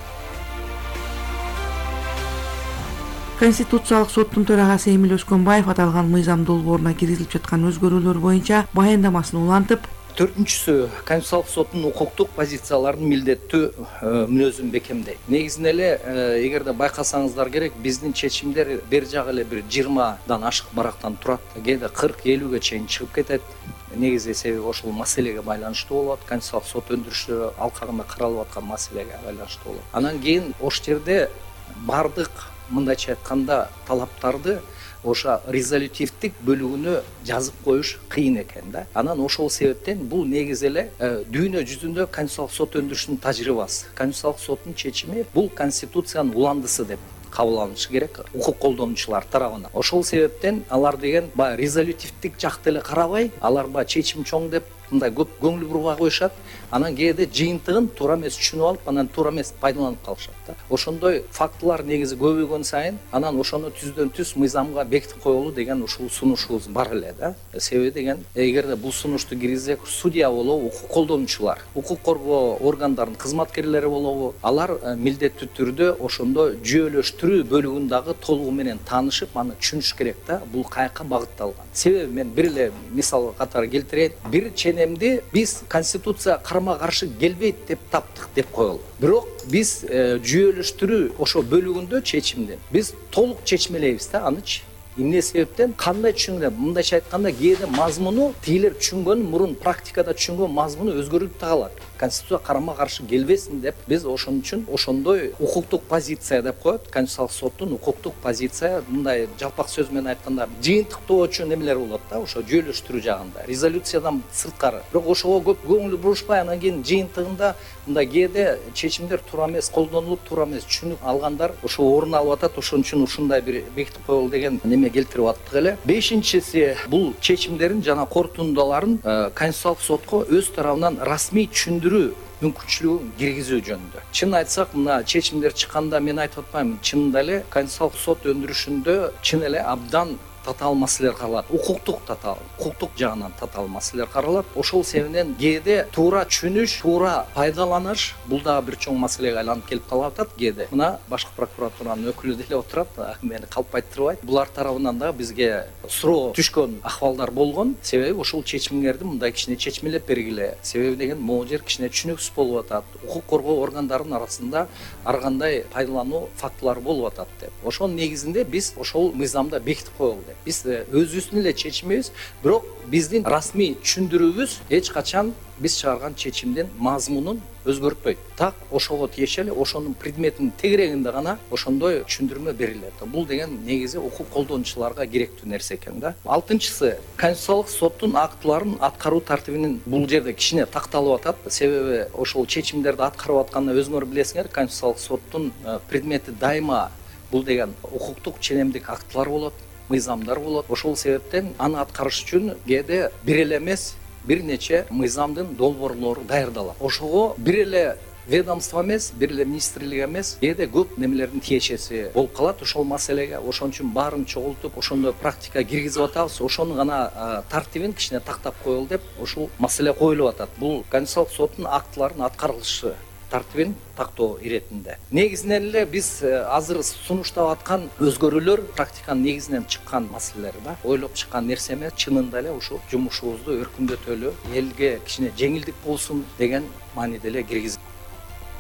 Конституциялык соттун төрагасы Эмил Өскөнбаев аталган мыйзам долбооруна киргизилип жаткан өзгөрүүлөр боюнча баяндамасын улантып, төртүнчүсү Конституциялык соттун укуктук позицияларын милдеттүү мүнөзүн бекемдейт. Негизинен эле эгерде байкасаңыздар керек, биздин чечимдер бер жагы эле бир жыйырмадан ашык барактан турат. Кээде кырк элүүгө чейин чыгып кетет. Негизи себеби ошол маселеге байланыштуу болот. Конституциялык сот өндүрүшү алкагында каралып аткан маселеге байланыштуу болот. Анан кийин ошол жерде бардык мындайча айтканда талаптарды ошо резолютивдик бөлүгүнө жазып коюш кыйын экен да. Анан ошол себептен бул негизи эле дүйнө жүзүндө Конституциялык сот өндүрүшүнүн тажрыйбасы. Конституциялык соттун чечими бул конституциянын уландысы деп кабыл алынышы керек укук колдонуучулар тарабынан. Ошол себептен алар деген баягы резолютивдик жакты эле карабай, алар баягы чечим чоң деп мындай көп көңүл бурбай коюшат. Анан кээде жыйынтыгын туура эмес түшүнүп алып, анан туура эмес пайдаланып калышат да. Ошондой фактылар негизи көбөйгөн сайын анан ошону түздөн түз мыйзамга бекитип коелу деген ушул сунушубуз бар эле да. Себеби деген эгерде бул сунушту киргизсек, судья болобу, укук колдонуучулар, укук коргоо органдарынын кызматкерлери болобу, алар милдеттүү түрдө ошондо жүйөлөштүрүү бөлүгүн дагы толугу менен таанышып, аны түшүнүш керек да. Бул каяка багытталган. Себеби мен бир эле мисал катары келтирейин. Бир ченемди биз конституция карама каршы келбейт деп таптык деп коелу. Бирок биз жүйөлөштүрүү ошо бөлүгүндө чечимден биз толук чечмелейбиз да анычы. Эмне себептен кандай түшүнгөн, мындайча айтканда кээде мазмуну тигилер түшүнгөн, мурун практикада түшүнгөн мазмуну өзгөрүп та калат. Конституция карама каршы келбесин деп биз ошон үчүн ошондой укуктук позиция деп коет. Конституциялык соттун укуктук позиция мындай жалпак сөз менен айтканда жыйынтыктоочу немелер болот да, ошо жүйөлөштүрүү жагында. Резолюциядан сырткары. Бирок ошого көп көңүл бурушпай, анан кийин жыйынтыгында мындай кээде чечимдер туура эмес колдонулуп, туура эмес түшүнүп алгандар ошо орун алып атат. Ошон үчүн ушундай бир бекитип коелу деген неме келтирип аттык эле. Бешинчиси бул чечимдерин жана корутундаларын Конституциялык сотко өз тарабынан расмий түшүндүрүү мүмкүнчүлүгүн киргизүү жөнүндө. Чын айтсак, мына чечимдер чыкканда мен айтып атпаймынбы, чынында эле Конституциялык сот өндүрүшүндө чын эле абдан татаал маселелер каралат. Укуктук татаал, укуктук жагынан татаал маселелер каралат. Ошол себептен кээде туура түшүнүш, туура пайдаланыш бул дагы бир чоң маселеге айланып келип калып атат. Кээде мына башкы прокуратуранын өкүлү деле отурат, мени калпайттырбайт. Булар тарабынан да бизге суроо түшкөн ахвалдар болгон. Себеби ошол чечимдерди мындай кичине чечмелеп бергиле. Себеби деген могу жер кичине түшүнүксүз болуп атат. Укук коргоо органдарынын арасында ар кандай пайдалануу фактылары болуп атат деп. Ошонун негизинде биз ошол мыйзамда бекитип коелу. Биз өзүбүздүн эле чечимибиз, бирок биздин расмий түшүндүрүүбүз эч качан биз чыгарган чечимдин мазмунун өзгөртпөйт. Так ошого тиешелүү, ошонун предметинин тегерегинде гана ошондой түшүндүрмө берилет. Бул деген негизи укук колдонуучуларга керектүү нерсе экен да. Алтынчысы, Конституциялык соттун актыларын аткаруу тартибинин бул жерде кичине такталып атат. Себеби ошол чечимдерди аткарып атканда өзүңөр билесиңер, Конституциялык соттун предмети дайыма бул деген укуктук ченемдик актылар болот, мыйзамдар болот. Ошол себептен аны аткарыш үчүн кээде бир эле эмес, бир нече мыйзамдын долбоорлору даярдалат. Ошого бир эле ведомство эмес, бир эле министрлик эмес, кээде көп немелердин тиешеси болуп калат ошол маселеге. Ошон үчүн баарын чогултуп, ошондо практика киргизип атабыз. Ошонун гана тартибин кичине тактап коелу деп ушул маселе коюлуп атат. Бул Конституциялык соттун актыларынын аткарылышы тартибин тактоо иретинде. Негизинен эле биз азыр сунуштап аткан өзгөрүүлөр практиканын негизинен чыккан маселелер да. Ойлоп чыккан нерсе эмес, чынында эле ушул жумушубузду өркүндөтөлү, элге кичине жеңилдик болсун деген мааниде эле киргизип.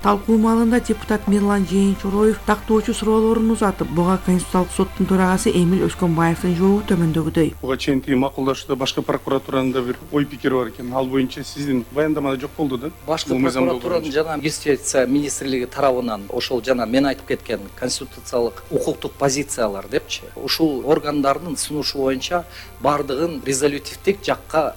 Талкуу маалында депутат Мирлан Жээнчороев тактоочу суроолорун узатып, буга Конституциялык соттун төрагасы Эмил Өскөнбаевдин жообу төмөндөгүдөй. Буга чейин макулдашууда башкы прокуратуранын да бир ой пикири бар экен. Ал боюнча сиздин баяндамада жок болду да. Башкы прокуратуранын жана юстиция министрлиги тарабынан ошол жана мен айтып кеткен конституциялык укуктук позициялар депчи, ушул органдардын сунушу боюнча бардыгын резолютивдик жакка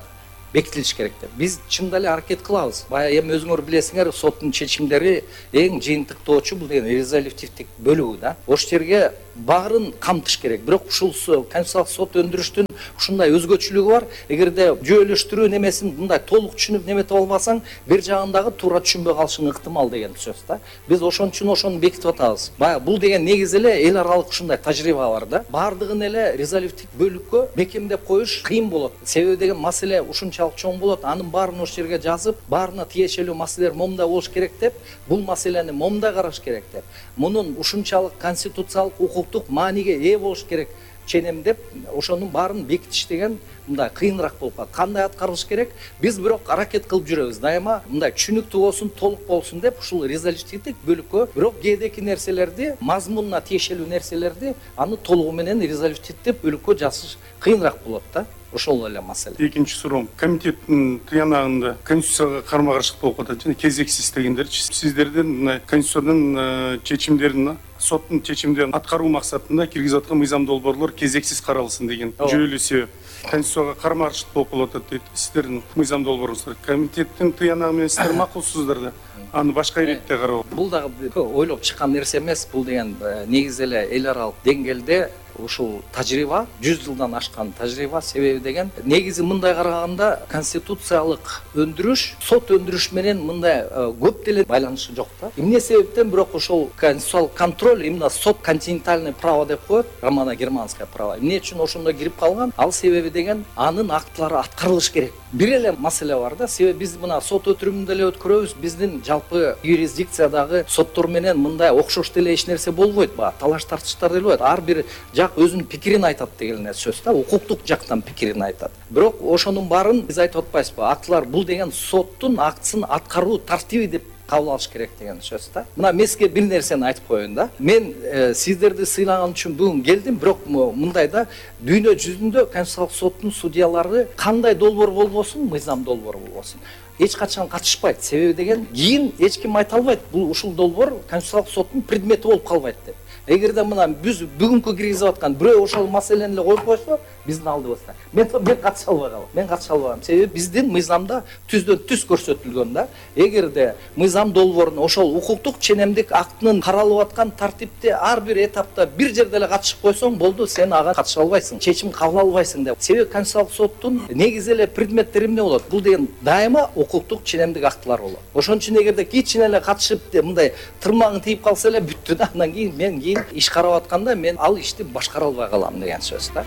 бекитилиш керек деп. Биз чында эле аракет кылабыз. Бая эми өзүңөр билесиңер, соттун чечимдери эң жыйынтыктоочу бул деген резолютивдик бөлүгү да. Ошол жерге баарын камтыш керек. Бирок ушул Конституциялык сот өндүрүштүн ушундай өзгөчөлүгү бар. Эгерде жүйөлөштүрүү немесин мындай толук түшүнүп неметип албасаң, бир жагындагы туура түшүнбөй калышың ыктымал деген сөз да. Биз ошон үчүн ошону бекитип атабыз. Бая бул деген негизи эле эл аралык ушундай тажрыйба бар да. Бардыгын эле резолютивдик бөлүккө бекемдеп коюш кыйын болот. Себеби деген маселе ушунчалык чоң болот. Анын баарын ошол жерге жазып, баарына тиешелүү маселелер момундай болуш керек деп, бул маселени момундай караш керек деп. Мунун ушунчалык конституциялык укуктук мааниге ээ болуш керек ченем деп, ошонун баарын бекитиш деген мындай кыйыныраак болуп калат. Кандай аткарылыш керек? Биз бирок аракет кылып жүрөбүз. Дайыма мындай түшүнүктүү болсун, толук болсун деп ушул резолютивдик бөлүккө бирок кээдеки нерселерди, мазмунуна тиешелүү нерселерди аны толугу менен резолютивдик бөлүккө жазыш кыйыныраак болот да. Ошол эле маселе. Экинчи суроом, комитеттин тыянагында конституцияга карама-каршылык болуп атат жана кезексиз дегендерчи. Сиздердин мына конституциянын чечимдерин, соттун чечимдерин аткаруу максатында киргизип аткан мыйзам долбоорлор кезексиз каралсын деген жүйөлүү себеп. Конституцияга карама-каршылык болуп калып атат дейт. Сиздердин мыйзам долбооруңуздар комитеттин тыянагы менен сиздер макулсуздар да. Аны башка иретте кароо. Бул дагы ойлоп чыккан нерсе эмес. Бул деген негизи эле эл аралык деңгээлде ушул тажрыйба, жүз жылдан ашкан тажрыйба. Себеби деген негизи мындай караганда конституциялык өндүрүш, сот өндүрүш менен мындай көп деле байланышы жок да. Эмне себептен бирок ошол конституциялык контроль именно сот континентальное право деп коет, романо-германское право. Эмне үчүн ошондо кирип калган? Ал себеби деген анын актылары аткарылыш керек. Бир эле маселе бар да. Себеби биз мына сот өтүрүмүндө эле өткөрөбүз. Биздин жалпы юрисдикциядагы соттор менен мындай окшош деле эч нерсе болбойт. Ба талаш тартыштар деле болот. Ар бир жак өзүнүн пикирин айтат деген сөз да, укуктук жактан пикирин айтат. Бирок ошонун баарын биз айтып атпайбызбы? Актылар бул деген соттун актысын аткаруу тартиби деп кабыл алыш керек деген сөз да. Мына мен сизге бир нерсени айтып коеюн да. Мен э, сиздерди сыйлаган үчүн бүгүн келдим, бирок мындай да дүйнө жүзүндө Конституциялык соттун судьялары кандай долбоор болбосун, мыйзам долбоор болбосун, эч качан катышпайт. Себеби деген кийин эч ким айта албайт, бул ушул долбоор Конституциялык соттун предмети болуп калбайт деп. Эгерде мына биз бүгүнкү киргизип аткан бирөө ошол маселени эле коюп койсо, биздин алдыбызда мен мен катыша албай калам. Мен катыша албайм. Себеби биздин мыйзамда түздөн түз көрсөтүлгөн да. Эгерде мыйзам долбоорун ошол укуктук ченемдик актынын каралып аткан тартипте ар бир этапта бир жерде эле катышып койсоң, болду, сен ага катыша албайсың, чечим кабыл албайсың деп. Себеби Конституциялык соттун негизи эле предметтери эмне болот? Бул деген дайыма укуктук ченемдик актылар болот. Ошон үчүн эгерде кичине эле катышып мындай тырмагың тийип калса эле бүттү да. Андан кийин мен кийин иш карап атканда мен ал ишти башкара албай калам деген сөз да.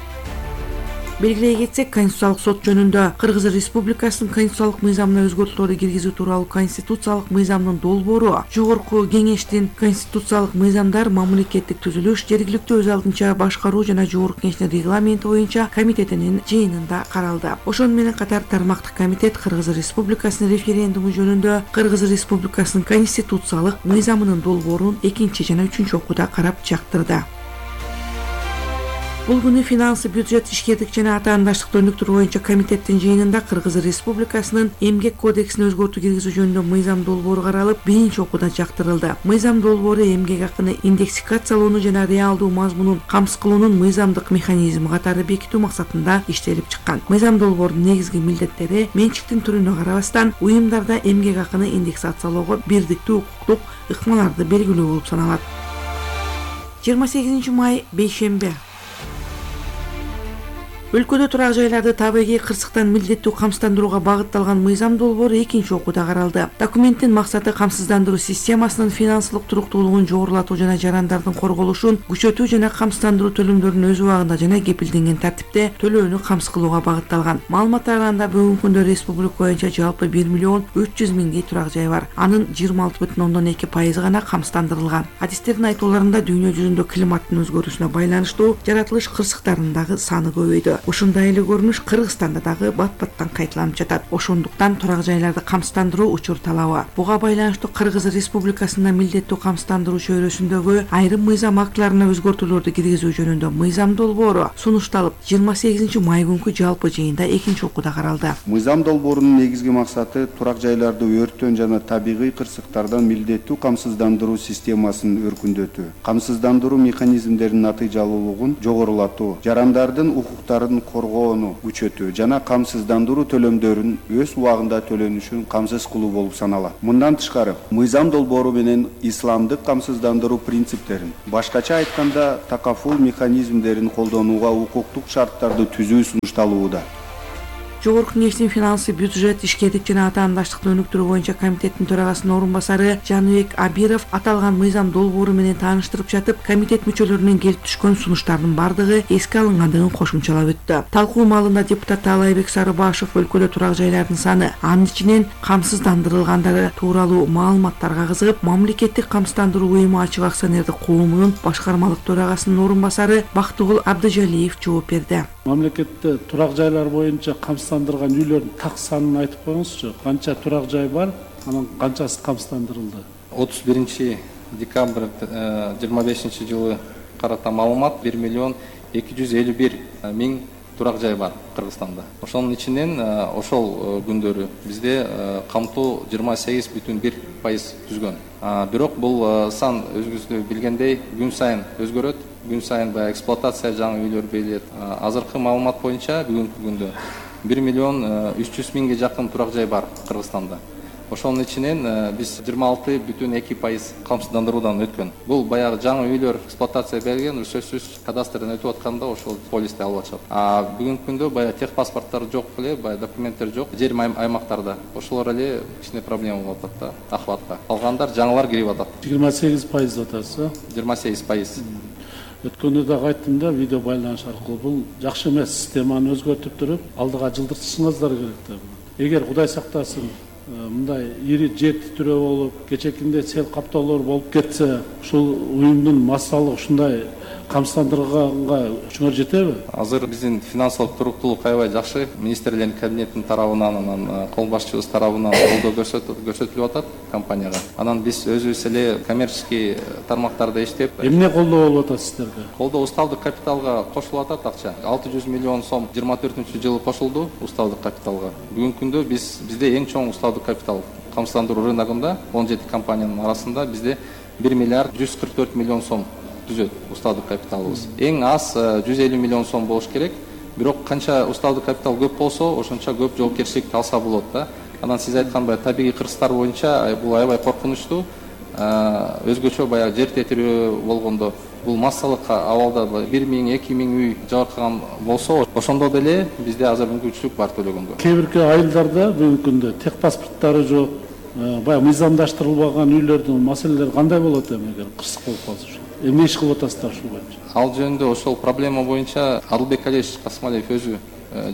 Белгилей кетсек, Конституциялык сот жөнүндө Кыргыз Республикасынын конституциялык мыйзамына өзгөртүүлөрдү киргизүү тууралуу конституциялык мыйзамдын долбоору Жогорку Кеңештин конституциялык мыйзамдар, мамлекеттик түзүлүш, жергиликтүү өз алдынча башкаруу жана Жогорку Кеңештин регламенти боюнча комитетинин жыйынында каралды. Ошону менен катар тармактык комитет Кыргыз Республикасынын референдуму жөнүндө Кыргыз Республикасынын конституциялык мыйзамынын долбоорун экинчи жана үчүнчү окууда карап жактырды. Бул күнү финансы, бюджет, ишкердик жана атаандаштыкты өнүктүрүү боюнча комитеттин жыйынында Кыргыз Республикасынын эмгек кодексине өзгөртүү киргизүү жөнүндө мыйзам долбоору каралып, биринчи окууда жактырылды. Мыйзам долбоору эмгек акыны индексикациялоону жана реалдуу мазмунун камсыз кылуунун мыйзамдык механизми катары бекитүү максатында иштелип чыккан. Мыйзам долбоорунун негизги милдеттери менчиктин түрүнө карабастан уюмдарда эмгек акыны индексациялоого бирдиктүү укуктук ыкмаларды белгилөө болуп саналат. жыйырма сегизинчи май бейшемби. Өлкөдө турак жайларды табигый кырсыктан милдеттүү камсыздандырууга багытталган мыйзам долбоору экинчи окууда каралды. Документтин максаты камсыздандыруу системасынын финансылык туруктуулугун жогорулатуу жана жарандардын корголушун күчөтүү жана камсыздандыруу төлөмдөрүн өз убагында жана кепилденген тартипте төлөөнү камсыз кылууга багытталган. Маалыматтар караганда бүгүнкү күндө республика боюнча жалпы бир миллион үч жүз миңдей турак жай бар. Анын жыйырма алты бүтүн ондон эки пайызы гана камсыздандырылган. Адистердин айтууларында дүйнө жүзүндө климаттын өзгөрүүсүнө байланыштуу жаратылыш кырсыктарынын дагы саны көбөйдү. Ушундай эле көрүнүш Кыргызстанда дагы бат-баттан кайталанып жатат. Ошондуктан турак жайларды камсыздандыруу учур талабы. Буга байланыштуу Кыргыз Республикасында милдеттүү камсыздандыруу чөйрөсүндөгү айрым мыйзам актыларына өзгөртүүлөрдү киргизүү жөнүндө мыйзам долбоору сунушталып, жыйырма сегизинчи май күнкү жалпы жыйында экинчи окууда каралды. Мыйзам долбоорунун негизги максаты турак жайларды өрттөн жана табигый кырсыктардан милдеттүү камсыздандыруу системасын өркүндөтүү, камсыздандыруу механизмдеринин натыйжалуулугун жогорулатуу, жарандардын укуктарын коргоону күчөтүү жана камсыздандыруу төлөмдөрүн өз убагында төлөнүшүн камсыз кылуу болуп саналат. Мындан тышкары, мыйзам долбоору менен исламдык камсыздандыруу принциптерин, башкача айтканда такафул механизмдерин колдонууга укуктук шарттарды түзүү сунушталууда. Жогорку кеңештин финансы, бюджет, ишкердик жана атаандаштыкты өнүктүрүү боюнча комитеттин төрагасынын орун басары Жаныбек Абиров аталган мыйзам долбоору менен тааныштырып жатып, комитет мүчөлөрүнүн келип түшкөн сунуштарынын бардыгы эске алынгандыгын кошумчалап өттү. Талкуу маалында депутат Таалайбек Сарыбашев өлкөдө турак жайлардын саны, анын ичинен камсыздандырылгандары тууралуу маалыматтарга кызыгып, мамлекеттик камсыздандыруу уюму ачык акционердик коомунун башкармалык төрагасынын орун басары Бактыгул Абдыжалиев жооп берди. Мамлекетте турак жайлар боюнча камсыздандырылган үйлөрдүн так санын айтып коюңузчу. Канча турак жай бар, анын канчасы камсыздандырылды? отуз биринчи декабрь жыйырма бешинчи жылы карата маалымат бир миллион эки жүз элүү бир миң турак жай бар Кыргызстанда. Ошонун ичинен ошол күндөрү бизде камтуу жыйырма сегиз бүтүн бир пайыз түзгөн. Бирок бул сан өзүңүз билгендей күн сайын өзгөрөт. Күн сайын баягы эксплуатация жаңы үйлөр берилет. Азыркы маалымат боюнча бүгүнкү күндө бир миллион үч жүз миңге жакын турак жай бар Кыргызстанда. Ошонун ичинен биз жыйырма алты бүтүн эки пайыз камсыздандыруудан өткөн. Бул баягы жаңы үйлөр эксплуатация берилген, сөзсүз кадастрдан өтүп атканда ошол полисти алып атышат. А бүгүнкү күндө баягы техпаспорттор жок эле, баягы документтер жок, жер аймактарда. Ошолор эле кичине проблема болуп атат да, ахватка. Калгандар жаңылар кирип атат. жыйырма сегиз пайыз атасы. жыйырма сегиз пайыз. Өткөндө да айттым да, видео байланыш аркылуу бул жакшы эмес, системаны өзгөртүп туруп, алдыга жылдыртышыңыздар керек да. Эгер Кудай сактасын, мындай ири жер титирөө болуп, кечекинде сел каптоолор болуп кетсе, ушул уюмдун массалык ушундай камсыздандырганга күчүңөр жетеби? Азыр биздин финансылык туруктуулук аябай жакшы. Министрлердин кабинетинин тарабынан, анан кол башчыбыз тарабынан колдоо көрсөтүлүп атат компанияга. Анан биз өзүбүз эле коммерческий тармактарда иштеп, эмне колдоо болуп атат сиздерге? Колдоо усталдык капиталга кошулуп атат акча. алты жүз миллион сом жыйырма төртүнчү жылы кошулду усталдык капиталга. Бүгүнкү күндө биз бизде эң чоң усталдык капитал камсыздандыруу рыногунда он жети компаниянын арасында бизде бир миллиард жүз кырк төрт миллион сом түзөт усталдык капиталыбыз. Эң аз жүз элүү миллион сом болуш керек. Бирок канча усталдык капитал көп болсо, ошончо көп жоопкерчиликти алса болот да. Анан сиз айткандай табигый кырсыктар боюнча бул аябай коркунучтуу. Өзгөчө баягы жер тетирөө болгондо бул массалык абалда бир миң эки миң үй жабыркаган болсо, ошондо деле бизде азыр мүмкүнчүлүк бар төлөгөнгө. Кээ бирки айылдарда бүгүнкү күндө техпаспорттары жок, баягы мыйзамдаштырылбаган үйлөрдүн маселелери кандай болот эми эгер кырсык болуп калса? Эмне иш кылып атасыздар ушул боюнча? Ал жөнүндө ошол проблема боюнча Адылбек Алиевич Касмалиев өзү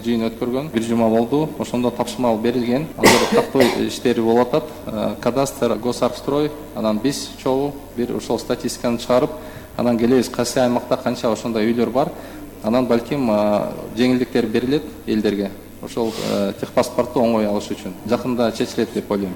жыйын өткөргөн. Бир жума болду. Ошондо тапшырма берилген. Азыр тактоо иштери болуп атат. Кадастр, Госарбстрой, анан биз чогуу бир ошол статистиканы чыгарып, анан келебиз кайсы аймакта канча ошондой үйлөр бар. Анан балким жеңилдиктер берилет элдерге. Ошол техпаспортту оңой алыш үчүн. Жакында чечилет деп ойлойм.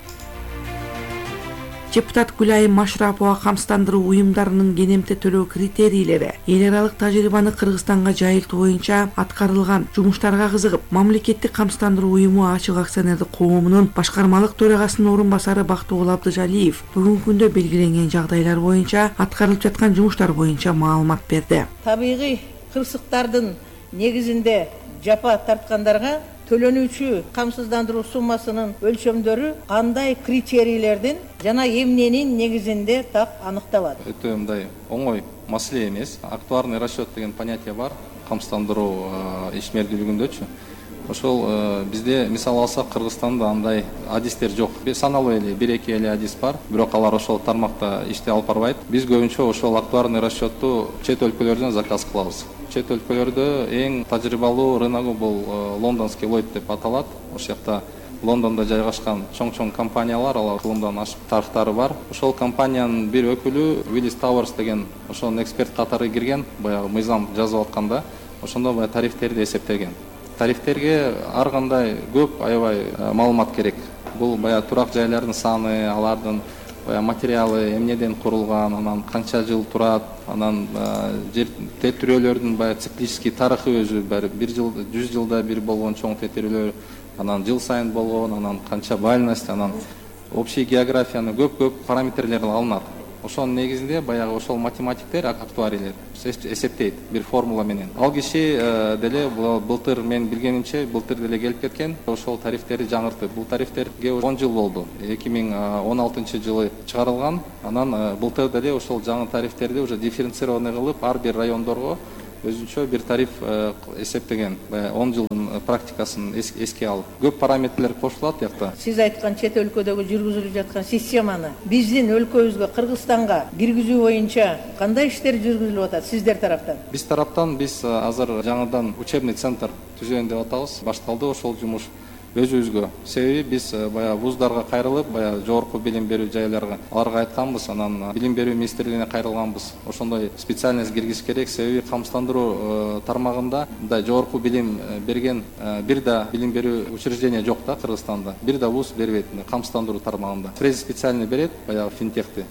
Депутат Гүлайым Машрапова камсыздандыруу уюмдарынын кенемте төлөө критерийлери, эл аралык тажрыйбаны Кыргызстанга жайылтуу боюнча аткарылган жумуштарга кызыгып, мамлекеттик камсыздандыруу уюму ачык акционердик коомунун башкармалык төрагасынын орун басары Бактыгул Абдыжалиев бүгүнкү күндө белгиленген жагдайлар боюнча аткарылып жаткан жумуштар боюнча маалымат берди. Табигый кырсыктардын негизинде жапа тарткандарга төлөнүүчү камсыздандыруу суммасынын өлчөмдөрү кандай критерийлердин жана эмненин негизинде так аныкталат? Өтө мындай оңой маселе эмес. Актуарный расчет деген понятие бар. камсыздандыруу ишмердүүлүгүндөчү ошол бизде мисал алсак Кыргызстанда андай адистер жок. Саналуу эле бир эки эле адис бар, бирок алар ошол тармакта иштей алып барбайт. Биз көбүнчө ошол актуарный расчетту чет өлкөлөрдөн заказ кылабыз. Чет өлкөлөрдө эң тажрыйбалуу рыногу бул лондонский Lloyd деп аталат. Ошол жакта Лондондо жайгашкан чоң-чоң компаниялар, алар кылымдан ашып тарыхтары бар. Ошол компаниянын бир өкүлү Willis Towers деген ошонун эксперт катары кирген, баягы мыйзам жазып атканда, ошондо баягы тарифтерди эсептеген. Тарифтерге ар кандай көп аябай маалымат керек. Бул баягы турак жайлардын саны, алардын баягы материалы эмнеден курулган, анан канча жыл турат, анан жер тетирөөлөрдүн баягы циклический тарыхы өзү бир жыл, жүз жылда бир болгон чоң тетирөөлөр, анан жыл сайын болгон, анан канча байланость, анан общий географияны көп-көп параметрлер алынат. Ошонун негизинде баягы ошол математиктер, актуарийлер эсептейт бир формула менен. Ал киши деле былтыр мен билгенимче былтыр деле келип кеткен, ошол тарифтерди жаңыртты. Бул тарифтерге он жыл болду. эки миң он алтынчы жылы чыгарылган. Анан былтыр деле ошол жаңы тарифтерди уже дифференцированный кылып ар бир райондорго өзүнчө бир тариф эсептеген. он жылдын практикасын эске алып. Көп параметрлер кошулат жакта. Сиз айткан чет өлкөдөгү жүргүзүлүп жаткан системаны биздин өлкөбүзгө, Кыргызстанга киргизүү боюнча кандай иштер жүргүзүлүп атат сиздер тараптан? Биз тараптан биз азыр жаңыдан учебный центр түзөйүн деп атабыз. Башталды ошол жумуш өзүбүзгө. Себеби биз баягы вуздарга кайрылып, баягы жогорку билим берүү жайларга аларга айтканбыз, анан билим берүү министрлигине кайрылганбыз. Ошондой специальность киргиз керек, себеби камсыздандыруу тармагында мындай жогорку билим берген бир да билим берүү учреждение жок да Кыргызстанда. Бир да вуз бербейт камсыздандыруу тармагында. Специальный берет, баягы финтехти.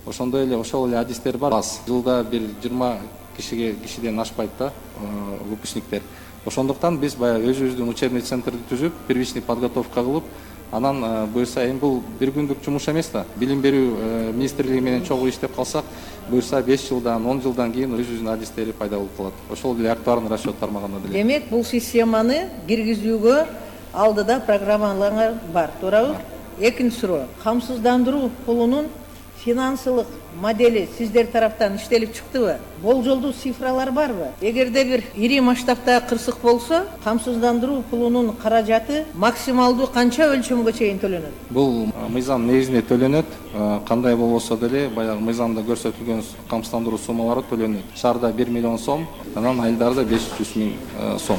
Ошондой эле ошол эле адистер бар. Жылда бир жыйырма кишиге кишиден ашпайт да выпускниктер. Ошондуктан биз баягы өзүбүздүн учебный центрди түзүп, первичный подготовка кылып, анан буюрса эми бул бир күндүк жумуш эмес да. Билим берүү министрлиги менен чогуу иштеп калсак, буюрса беш жылдан, он жылдан кийин өзүбүздүн адистери пайда болуп калат. Ошол эле актуарный расчет тармагында деле. Демек, бул системаны киргизүүгө алдыда программалар бар, туурабы? Экинчи суроо. Камсыздандыруу пулунун финансылык модели сиздер тараптан иштелип чыктыбы? Болжолдуу цифралар барбы? Эгерде бир ири масштабта кырсык болсо, камсыздандыруу пулунун каражаты максималдуу канча өлчөмгө чейин төлөнөт? Бул мыйзам негизинде төлөнөт. Кандай болбосо деле баягы мыйзамда көрсөтүлгөн камсыздандыруу суммалары төлөнөт. Шаарда бир миллион сом, анан айылдарда беш жүз миң сом.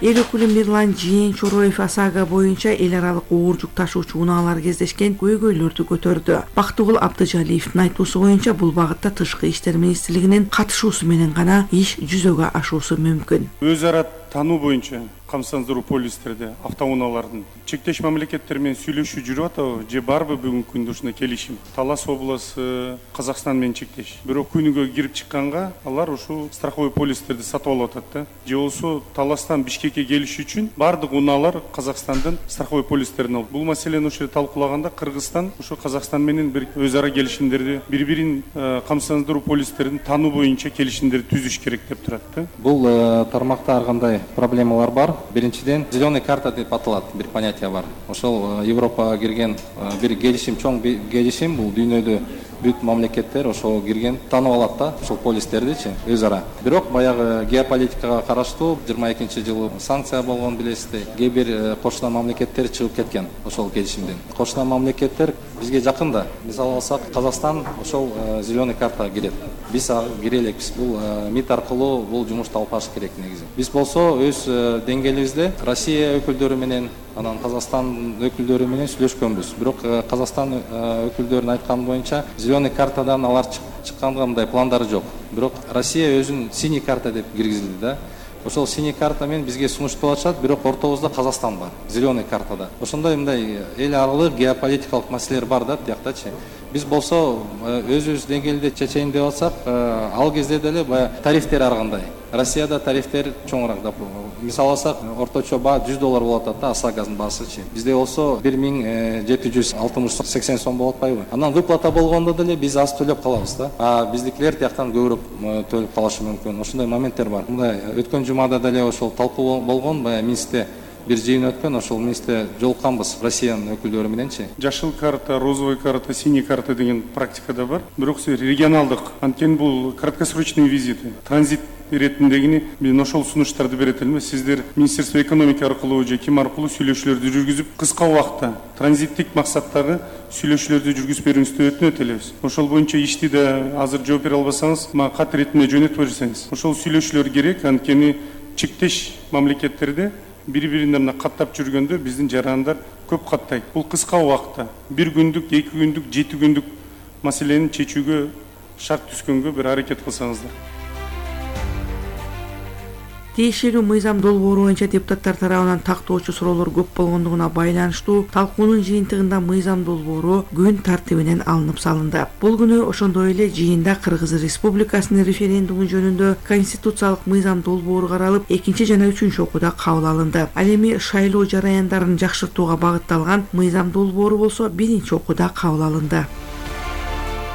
Эл өкүлү Мирлан Жээн Чороев ОСАГО боюнча эл аралык оор жүк ташуучу унаалар кездешкен көйгөйлөрдү көтөрдү. Бактыгул Абдыжалиевдин айтуусу боюнча бул багытта Тышкы иштер министрлигинин катышуусу менен гана иш жүзөгө ашуусу мүмкүн. Өз ара тануу боюнча камсыздандыруу полистерде автоунаалардын чектеш мамлекеттер менен сүйлөшүү жүрүп атабы же барбы бүгүнкү күндө ушундай келишим? Талас областы Казакстан менен чектеш. Бирок күнүгө кирип чыкканга алар ушул страховой полистерди сатып алып атат да. Же болсо Таластан Бишкекке келиш үчүн бардык унаалар Казакстандын страховой полистерин алып. Бул маселени ушул жерде талкуулаганда Кыргызстан ушул Казакстан менен бир өз ара келишимдерди, бири-бирин камсыздандыруу полистерин тануу боюнча келишимдерди түзүш керек деп турат да. Бул тармакта ар кандай проблемалар бар. Биринчиден зеленый карта деп аталат бир понятие бар. Ошол Европага кирген бир келишим, чоң келишим, бул дүйнөдө бүт мамлекеттер ошого кирген, таанып алат да ошол полистердичи өз ара. Бирок баягы геополитикага караштуу жыйырма экинчи жылы санкция болгон билесиздер. Кээ бир кошуна мамлекеттер чыгып кеткен ошол келишимден. Кошуна мамлекеттер бизге жакын да. Мисалы алсак, Казакстан ошол зеленый картага кирет. Биз кире элекпиз. Бул МИД аркылуу бул жумушту алып барыш керек негизи. Биз болсо өз деңгээлибизде Россия өкүлдөрү менен, анан Казакстан өкүлдөрү менен сүйлөшкөнбүз. Бирок Казакстан өкүлдөрүнүн айтканы боюнча зеленый картадан алар чыкканга мындай пландары жок. Бирок Россия өзүн синий карта деп киргизди да. Ошол синий карта менен бизге сунушталып атышат, бирок ортобузда Казакстан бар, зеленый картада. Ошондой мындай эл аралык геополитикалык маселелер бар да тияктачы. Биз болсо өзүбүз деңгээлде чечейин деп атсак, ал кезде деле баягы тарифтер ар кандай. Россияда тарифтер чоңураак да. Мисалы алсак, орточо баа жүз доллар болуп атат да ОСАГОнун баасычы. Бизде болсо бир миң жети жүз алтымыш сексен сом болуп атпайбы? Анан выплата болгондо деле биз аз төлөп калабыз да. А биздикилер тияктан көбүрөөк төлөп калышы мүмкүн. Ошондой моменттер бар. Мындай өткөн жумада деле ошол талкуу болгон, баягы Минскте бир жыйын өткөн, ошол мисте жолукканбыз Россиянын өкүлдөрү мененчи. Жашыл карта, розовый карта, синий карта деген практикада бар. Бирок регионалдык, анткени бул краткосрочный визиты, транзит иретиндегини мен ошол сунуштарды берет элем. Сиздер Министерство экономики аркылуу же ким аркылуу сүйлөшүүлөрдү жүргүзүп, кыска убакытта транзиттик максаттагы сүйлөшүүлөрдү жүргүзүп берүүңүздү өтүнөт элебиз. Ошол боюнча ишти да азыр жооп бере албасаңыз, мага кат иретинде жөнөтүп берсеңиз. Ошол сүйлөшүүлөр керек, анткени чектеш мамлекеттерде бири-бирине каттап жүргөндө биздин жарандар көп каттайт. Бул кыска убакытта бир күндүк, эки күндүк, жети күндүк маселени чечүүгө шарт түзгөнгө бир аракет кылсаңыздар. Тиешелүү мыйзам долбоору боюнча депутаттар тарабынан тактоочу суроолор көп болгондугуна байланыштуу талкуунун жыйынтыгында мыйзам долбоору күн тартибинен алынып салынды. Бул күнү ошондой эле жыйында Кыргыз Республикасынын референдуму жөнүндө конституциялык мыйзам долбоору каралып, экинчи жана үчүнчү окууда кабыл алынды. Ал эми шайлоо жараяндарын жакшыртууга багытталган мыйзам долбоору болсо биринчи окууда кабыл алынды.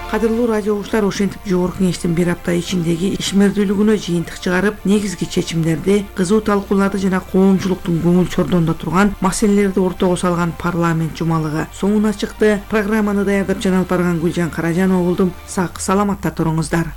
Кадырлуу радио угуучулар, ошентип жогорку кеңештин бир апта ичиндеги ишмердүүлүгүнө жыйынтык чыгарып, негизги чечимдерди, кызуу талкууларды жана коомчулуктун көңүл чордонуна турган маселелерди ортого салган парламент жумалыгы соңуна чыкты. Программаны даярдап жана алып барган Гүлжан Каражанова болдум. Сак саламатта туруңуздар.